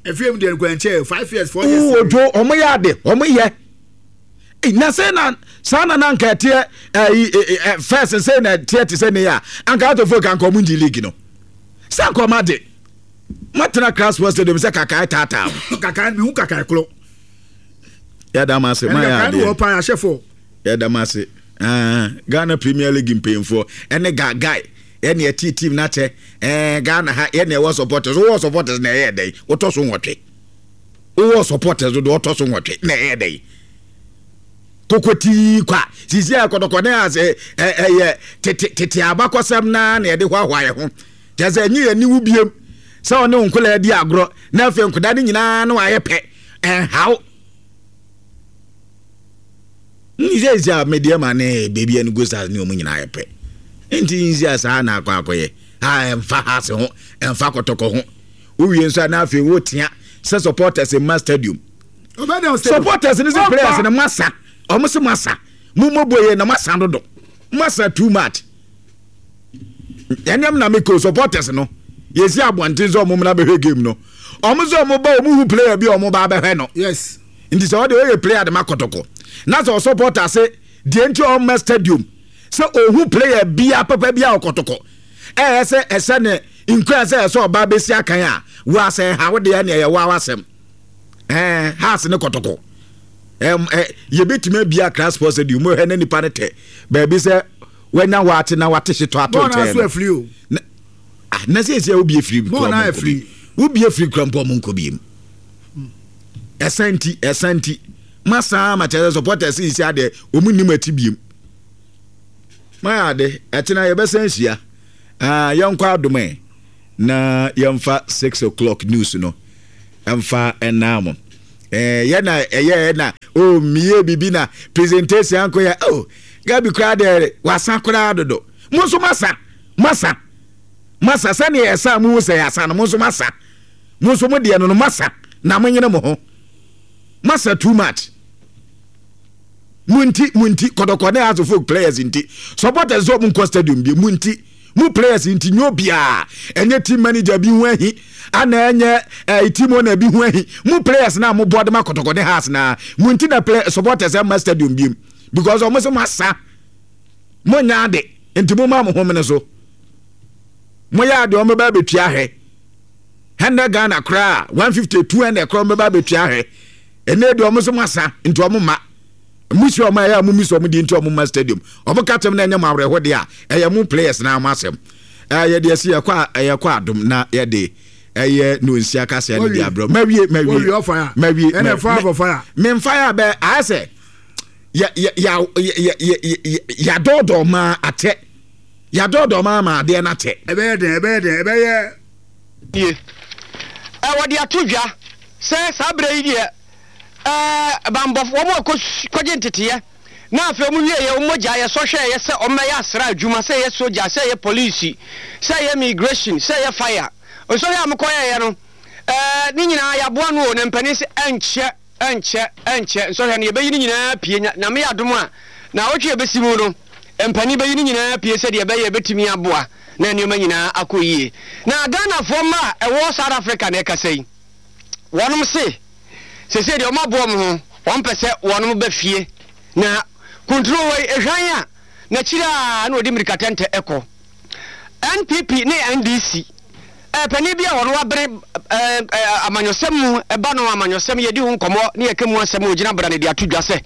[SPEAKER 2] ɛfiri mu deɛ nkwankyɛn five years four years
[SPEAKER 1] ojo ɔmo yɛ ade ɔmo yɛ na sɛ na saa na na nka ɛteɛ ɛyi first sɛ na ɛteɛ te sɛ ne yɛ a anka Hearts of Oak anka ɔmo ngye league no sɛ anka ɔmo ade matena Accra Sports Stadium sɛ kakae taataa
[SPEAKER 2] kakae mi hu kakae korɔ
[SPEAKER 1] yɛda mo ase maa yɛ adeɛ
[SPEAKER 2] wɔ pa ahyɛ fɔ
[SPEAKER 1] yɛda mo ase Ghana Premier League mpanyinfoɔ ɛne gaagae ɛne ɛte team n'akyɛ ɛɛ Ghana ha ɛne ɛwɔ supporters wowɔ supporters na ɛyɛ dɛn wotɔ so nwɔtwe wowɔ supporters do wɔtɔ so nwɔtwe na ɛyɛ dɛn kokotii kwa sisi a kɔtɔkɔ ne ase ɛyɛ tete tete abakɔsɛm naa na yɛde hoahoa yɛ ho kyerɛ sɛ ɛnyɛ yɛn niwu biem sɛ ɔne nkola adi agorɔ na afei nkoda ne nyinaa no ayɛ pɛ ɛnhaw nse nse a medeɛ ma ne beebi ɛne Gold Stars ne ɔmo nyinaa yɛ pɛ nti nse a saa na akɔ akɔyɛ a ɛnfa Hearts ho ɛnfa Kɔtɔkɔ ho wowie nso a na afei wotea sɛ supporters mma stadium supporters ne sɛ players ne masa ɔmo sɛ masa mo mo boye na masa dodo masa too much ɛnɛm na meko supporters no yɛsi abɔnten sɛ ɔmo mna bɛhwɛ game no ɔmo sɛ ɔmo ba ɔmo hu player bi ɔmo ba bɛhwɛ no
[SPEAKER 2] yes
[SPEAKER 1] nti sɛ ɔde ɔyɛ player de ma Kɔtɔkɔ na sɛ ɔsupporter se deɛ nti ɔmo stadium sɛ ɔhu player bia papa bia ɔkɔtɔkɔ ɛyɛ sɛ ɛsɛ ne nkura sɛ ɛsɛ ɔba bɛsi akan a wo asɛ ha wo deɛ ne ɛyɛ wo awasɛm ɛɛ Hearts ne Kɔtɔkɔ ɛm ɛ yɛbɛtumi abia Accra Sports Stadium mu hwɛ ne nipa ne tɛ baabi sɛ wanya waate na wate hyetɔ ato nkyɛn no Ah, na sɛ ɛsɛ wobie firi
[SPEAKER 2] Bɔɔl na ayɛ free.
[SPEAKER 1] Wobie firi kura mpo, ɔmo nkɔ biem. Ɛsa nti, ɛsa nti masaa ma kyerɛ sɛ supporters yi si adeɛ, ɔmo nim akyi biem. Mayɛ ade, ɛkyena yɛbɛsan hyia. Ah, yɛnkɔ Adom ɛ na yɛmfa six o'clock news no ɛmfa ɛnaa mo. ɛɛ yɛ na ɛyɛ na o mie bibi na presentation anko yɛ o Gabi koraa deɛ, wasa koraa dodo. Mo nso masa, masa, masa sɛnea ɛsa mo sɛ yɛasa no. Mo nso masa, mo nso mo deɛ no no masa na mo nyere mo ho. Masa too much. Mo nti, mo nti Kɔtɔkɔ ne Hearts of Oak players nti supporters sɛ ɔmo nkɔ stadium bi. Mo nti, mo players nti, nye obiara ɛnyɛ team manager bi ho ahi ana ɛnyɛ ɛɛ team owner bi ho ahi. Mo players na mo bɔ de ma Kɔtɔkɔ ne Hearts na mo nti na play supporters ɛma stadium bi mu because ɔmo sɛ mo asa, mo nya ade nti mo ma mo ho mene so. Mo yɛ ade, ɔmo bɛ abɛtua hwɛ hundred Ghana koraa, one fifty, two hundred koraa, ɔmo bɛ abɛtua hwɛ. Ɛnɛ deɛ, ɔmo sɛ mo asa nti ɔmo ma musi ɔmo ɛyɛ a mo misi ɔmo di nti ɔmo ma stadium. Ɔmo ka kyɛm na ɛnyɛ mo awerɛho deɛ a ɛyɛ mo players na mo asɛm. Ɛɛ yɛde ɛsi yɛkɔ a ɛyɛkɔ Adom na yɛde ɛyɛ no nsia kaseɛ no de abrɛ. Mawie, mawie, mawie.
[SPEAKER 2] Ɛnɛ fire for fire.
[SPEAKER 1] Memfa yɛ abɛ ayɛ sɛ yɛ yɛ yɛ yɛ yɛ yɛadɔɔdɔɔ maa akyɛ, yɛadɔɔdɔɔ maa ma adeɛ no akyɛ.
[SPEAKER 2] Ɛbɛyɛ den, ɛbɛyɛ den, ɛbɛyɛ.
[SPEAKER 15] Nie ɛ wɔde ato dwa sɛ saa berɛ yi deɛ, ɛɛ bambɔfo wɔn a kɔgye nteteɛ na afei wɔn wieɛ, wɔn mogya yɛsɔ hwɛeɛ sɛ wɔn bɛyɛ asra adwuma, sɛ ɛyɛ soja, sɛ ɛyɛ polisi, sɛ ɛyɛ immigration, sɛ ɛyɛ fire, nsɔhwɛ a mokɔyɛeɛ no, ɛɛ ne nyinaa yɛaboa no o. Na mpanin sɛ ɛnkyɛ, ɛnkyɛ, ɛnkyɛ nsɔhwɛ no yɛbɛyi ne nyinaa pie. Nyame yɛ adom a, na awɔtwe yɛbɛsi mu no, mpanin bɛyi ne nyinaa pie sɛdeɛ ɛbɛyɛ yɛbɛtumi aboa na nneɛma nyinaa akɔ yie. Na Ghanafoɔ mma a ɛwɔ South Africa na ɛkasa yi, wɔnom se sese deɛ wɔn aboɔ mo ho, wɔn pɛ sɛ wɔnom ba fie na kuntunu hɔ yi ehwan a n'akyiri a na wɔde mmirika tɛntɛ ɛkɔ. N P P ne N D C ɛɛ panin bi a wɔn wabere ɛɛ ɛɛ amanyɔsɛm mu ɛba no, amanyɔsɛm yɛdi ho nkɔmɔ ne yɛka mu asɛm a ogyina bra ne de ato dwa sɛ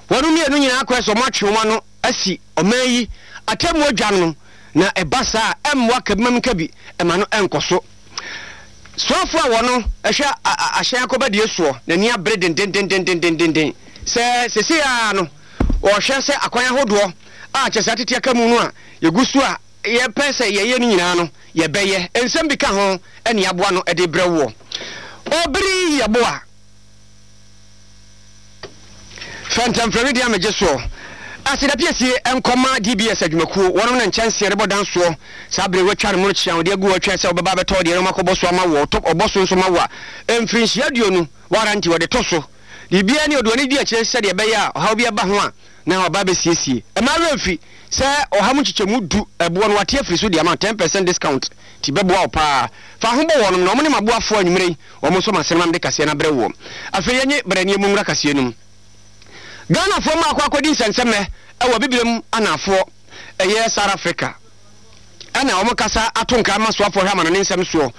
[SPEAKER 15] wɔn mmienu nyinaa kɔ sɛ wɔn atwe wɔn ano asi ɔman yi atemmuo dwa no, na ɛba saa ɛmmoa kabimam kabi ɛma no ɛnkɔ so. Soafo a wɔno ɛhwɛ ahyɛn akɔbadie soɔ, n'ani abere dendendendendendenden sɛ sese a no wɔhwɛ sɛ akwan ahodoɔ a kyɛ sɛ atete aka mu no a yɛgu so a yɛpɛ sɛ yɛyɛ no nyinaa no, yɛbɛyɛ. Nsɛm bi ka ho ɛne aboa no ɛde brɛ woɔ. Ɔbere yɛboa fɛntɛmfrɛmi deɛ amegye soɔ aseda piesie nkɔma D B S adwumakuo. Wɔnom na nkyɛnseɛ rebɔ dan soɔ saa bere wɔatwa no mono kyea wɔde agu hɔ twɛn sɛ wɔbɛba bɛtɔ deɛ no makɔbɔ so ama wɔ ɔbɔ so nso ma wo a mfirinhyia aduonu warranty wɔde to so. Biribiara ne ɔde w'ani di akyire sɛdeɛ ɛbɛyɛ a ɔhaw bi ɛba ho a na ɔba bɛsiesie. Ɛma werɛ mfi sɛ ɔha mu nkyekyɛmu du ɛboɔ no wate afiri so de ama ten percent discount, nti bɛboa wo paa. Fa ho bɔ wɔnom na ɔmo ne maboafoɔ anwummerɛ yi, wɔn nso ma asɛm de kaseɛ no abrɛ woɔ. Afei yɛnye brɛneɛ mu nwura kaseɛ no mu. Ghanafoɔ mu akɔ akɔdi nsɛnsɛmmɛ ɛwɔ Bibirem anafoɔ, ɛyɛ South Africa, ɛna wɔn kasa ato nkra ma soafoɔ hwɛ ama no ne nsɛm soɔ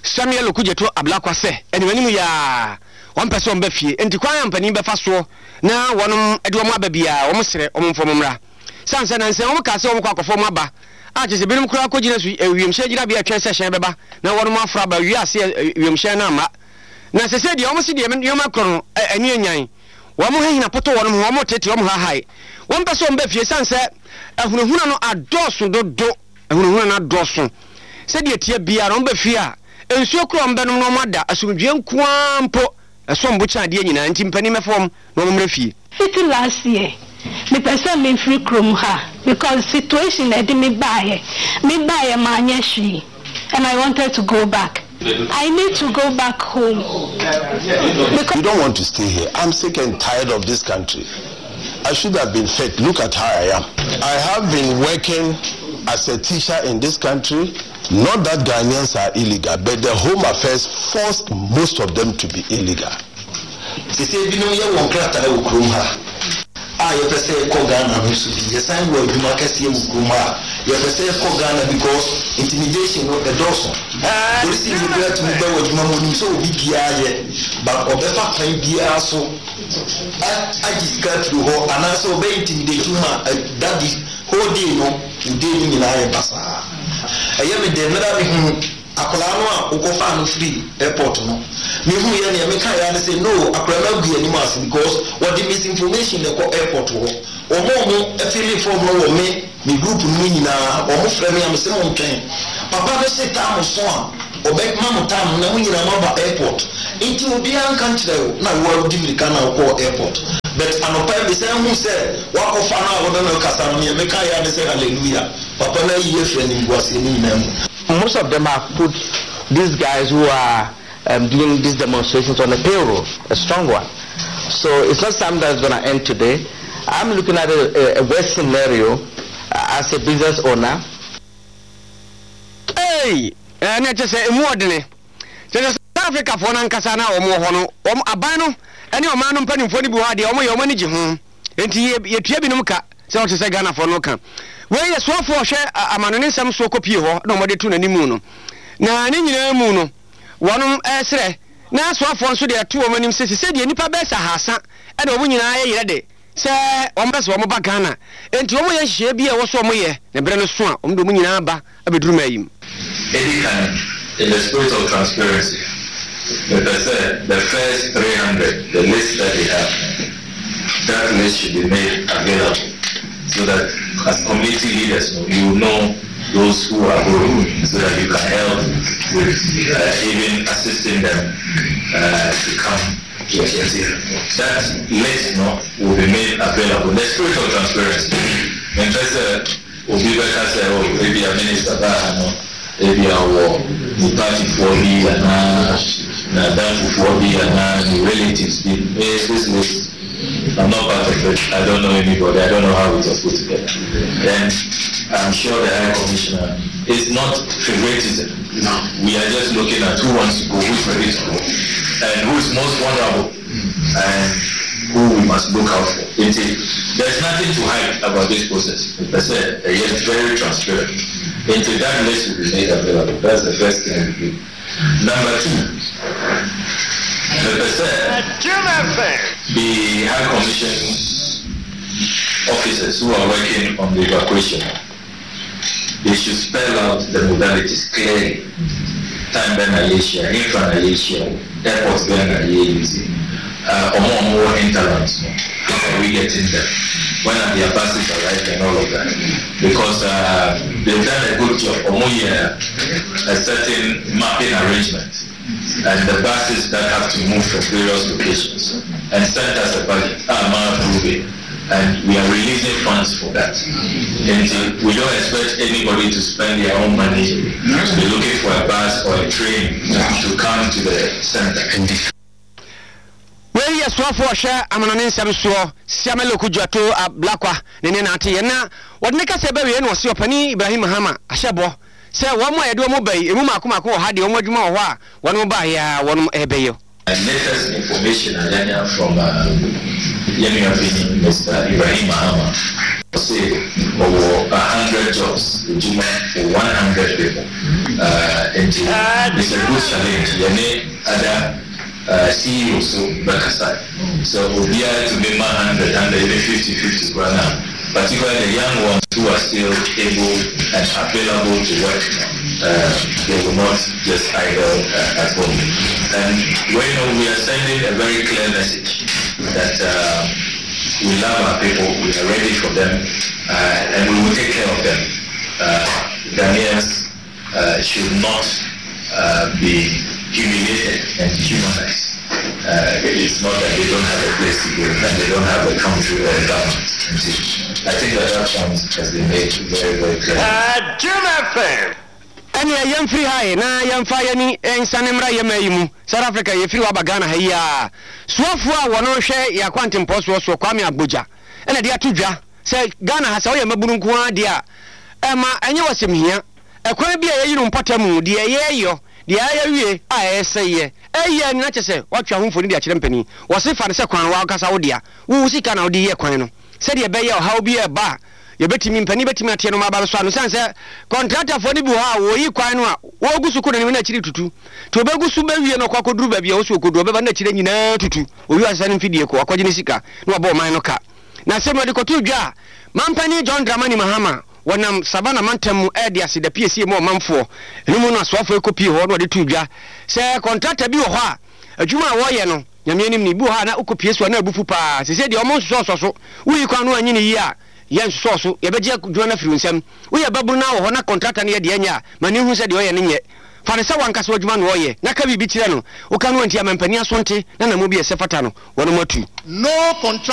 [SPEAKER 15] Samuel Okudzeto Ablakwa sɛ animanim yaa wɔn pɛ sɛ wɔn bɛ fie, nti kwan a mpanin bɛfa soɔ na wɔn de wɔn aba biara, wɔn srɛ wɔn mfɔm mmra. San sɛ nansɛn wɔn kaa sɛ wɔn kɔ akɔfɔ wɔn aba a kyerɛ sɛ binom koraa kɔgyina so wiemhyɛn gyinabea atwɛn sɛ hyɛn bɛba na wɔn aforo aba wie ase, wiemhyɛn no amma. Na sɛ sɛ deɛ wɔn si deɛ nneɛma korɔ no ani anyan wɔn hɛhina poto wɔn ho, wɔn tete wɔn hahae, wɔn pɛ sɛ wɔn bɛ fie san sɛ ahunahuna no adɔɔso dodo. Ahunahuna no adɔɔso sɛdeɛ tie biara, wɔn bɛ fie a nsuo koro wɔn bɛnom na wɔn ada asomdwie nkoa mpo ɛsɔm bo kyɛn adeɛ nyinaa, nti mpanin mɛfɔ wɔn na wɔn mmerɛ fie.
[SPEAKER 16] Fiti last year mepɛ sɛ memfiri kurom ha because situation ɛde me baeɛ, me baeɛ maanyɛ hwee and I wanted to go back. I need to go back home.
[SPEAKER 17] Because you don't want to stay here. I'm sick and tired of this country. I should have been fit. Look at how I am. I have been working as a teacher in this country. Not that Ghanaians are illegal, but the Home Affairs forced most of them to be illegal.
[SPEAKER 18] Sese binom yɛ wɔn krataa wɔ kurom ha a yɛpɛ sɛ yɛkɔ Ghana no nso bi yɛsan wɔ adwuma kɛseɛ wɔ kurom ha a yɛpɛ sɛ yɛkɔ Ghana because intimidation no ɛdɔɔso. Polisi ni kura tumi bɛ wɔ adwuma mu, onim sɛ obi biara yɛ, but ɔbɛfa kwan biara so agye sika afiri hɔ anaasɛ ɔbɛ intimidate ma that the whole day no, wo day no nyinaa yɛ basaa. Ɛyɛ me dɛ mmerɛ a mehunu akwadaa no a wokɔfaa no firi airport no. Mehu yɛ nea meka yɛ ne sɛ no, akwadaa no agu yɛn anim ase because wɔde misinformation na ɛkɔ airport hɔ. Wɔn a wɔn fill form no wɔ me me group no mu nyinaa, wɔn frɛ me a me sɛ mo ntwɛn. Papa no se time so a ɔbɛma mo time na mo nyinaa mo aba airport. Nti obiara nka nkyerɛ wo na wo a wodi mirika na wokɔɔ airport. But anɔpa yi mesan hu sɛ wakɔfa no a wɔne no kasa no, nea meka yɛ ne sɛ hallelujah. Papa no ayi afiri animguaseɛ no nyinaa mu.
[SPEAKER 19] Most of them have put these guys who are um, doing these demonstrations on a payroll, a strong one. So it's not something that's going to end today. I'm looking at a, a, a worst scenario uh, as a business owner.
[SPEAKER 15] Hey, ɛne kyɛ sɛ emu ɔdene kyɛ sɛ South Africa foɔ no ankasa na wɔn wɔ hɔ no, wɔn aban no ɛne ɔman no mpanimfoɔ no bi wɔ hɔ adeɛ wɔn yɛ wɔn ani gye ho, nti yɛtua binom ka sɛ wɔte sɛ Ghanafoɔ no ka. Wei yɛ soafoɔ ɔhwɛ amano ne nsɛm soɔ kɔpie hɔ na wɔde to n'anim no, na ne nyinaa mu no wɔnom ɛsrɛ na soafoɔ nso deɛ ɛto wɔn anim sɛ sɛ deɛ nnipa bɛyɛ sɛ ahasa ɛna wɔn nyinaa yɛ yerɛ de sɛ wɔn bɛ sɛ wɔn ba Ghana, nti wɔn yɛ nhyehyɛeɛ bi a ɛwɔ so wɔn yɛ na berɛ no so a wɔn de wɔn nyinaa ba abɛduru maa yi mu.
[SPEAKER 20] Edi kan, in the spirit of transparency, mepɛ sɛ the first three hundred, the list that they have, that list should be made available so that as community leaders, you know those who are going, so that you can help with uh, even assisting them uh, to come to Asia. That list no, will be made available. In the spirit of transparency, mepɛ sɛ obi bɛka sɛ o ebi a minister baa ha no, ebi a wɔ ne partyfoɔ bi anaa n'adamfofoɔ bi anaa ne relatives bi. This list, I'm not part of it. I don't know anybody. I don't know how it was put together. And I'm sure the High Commissioner is not favoritism. No. We are just looking at who wants to go, who's ready to go, and who is most vulnerable, and who we must look out for. It is, there's nothing to hide about this process. Per se, it's very transparent. Into that list will be made available. That's the first thing we do. Number two, the per se, the High Commission officers who are working on the evacuation, they should spell out the modalities clearly. Time bɛn na yɛhyia, infra na yɛhyia, airport bɛn na yɛ uh, or more and more hinterlands. How are we getting them? When are their buses arriving and all of that? Because uh, they've done a good job. Or more yeah, a certain mapping arrangement, and the buses that have to move from various locations, and sent us a budget. Ah, approve it. And we are releasing funds for that. And we don't expect anybody to spend their own money to be looking for a bus or a train to come to the center.
[SPEAKER 15] Wei yɛ soafoɔ ɔhwɛ amanɔne nsɛm soɔ Samuel Okudzeto Ablakwa ne ne nante yɛ na wɔde ne kasa bɛwie na ɔse ɔpani Ibrahim Mahama ahyɛ bɔ sɛ wɔn a yɛde wɔn ba yi emu mako mako wɔ ha deɛ wɔn adwuma wɔ hɔ a wɔn ba yɛ a wɔn ɛbɛyɛ.
[SPEAKER 20] Latest information I got from Yemi Mister Ibrahim Mahama say over a hundred jobs for one hundred people. Uh, and it's a good challenge. Yemi other uh, C E O so Bekasai. So we are to be one hundred, hundred, even fifty, fifty right now. Particularly the young ones who are still able and available to work, uh, they will not just idle uh, at home. And we know we are sending a very clear message that uh, we love our people, we are ready for them, uh, and we will take care of them. Uh, Ghanaians uh, should not uh, be humiliated and dehumanized. Uh, it's not that they don't have a place to go and they don't have a country or a government. I think that that point has been made very, very clear.
[SPEAKER 15] Ɛne yɛmfiri ha yi na yɛmfa yɛni nsane mmra yɛma yi mu South Africa yɛfiri waba Ghana ha yi a soafoɔ a wɔno hwɛ yɛ akwantempɔ soɔ soɔ Kwame Agbogya ɛna de ato dwa sɛ Ghana ha sɛ woyɛ mabunu nko ara deɛ a ɛma ɛnyɛ wɔsɛm hia ɛkwan bi a yɛyi no mpɔta mu deɛ yɛyɔ deɛ ayɛwie a ɛyɛ sɛ yɛ ɛyɛ ni na kyɛ sɛ watwa ho mfoni de akyerɛ mpanin wɔse fa no sɛ kwan wakasa wo dea wo sika na wode yɛ kwan no sɛdeɛ ɛbɛyɛ ɔhaw bi ɛba a yɛbɛtumi mpanin bɛtumi ateɛ no ma aba so ano sane sɛ kɔntratafoɔ no bi wɔ hɔ a wɔyi kwan no a wɔgu so kɔ n'anim na akyiri tutu nti wɔbɛgu so bɛwie no ɔkɔ akɔduru baabi a wɔso ɔkɔduru ɔbɛba na akyire nyinaa tutu owi asesa no mfidie kɔ akɔgye ne sika na wabɔ ɔman no ka na sɛ wɔde kɔto dwa a mampani John Dramani Mahama Wɔnam Savannah mantam mu rede aseda piesie ma ɔmanfoɔ. Ɛno mu no asoafoɔ yi kɔpie hɔ na wɔde too dwa sɛ kɔntrata bi wɔ hɔ a adwuma a wɔreyɛ no Nyame anim no, ebi wɔ hɔ a na wokɔpie so a na abufu paa. Seesei deɛ wɔnsosɔɔsɔ so. Woyi kwan no anyi no yie a, yɛnsosɔɔ so. Yɛbɛgye adwuma no afiri wo nsam. Woyɛ babunu na wɔ hɔ na kɔntrata no yɛ deɛ ɛnyɛ a, ma no nhu sɛ deɛ ɔyɛ no nyɛ. Fa no sɛ w'ankasa w'adwuma na ɔreyɛ na ka biribi kyerɛ no. Woka no antie a, ma mpanin aso nte na anammɔn bi a ɛsɛ fata no, wɔnom atu.
[SPEAKER 21] No contractor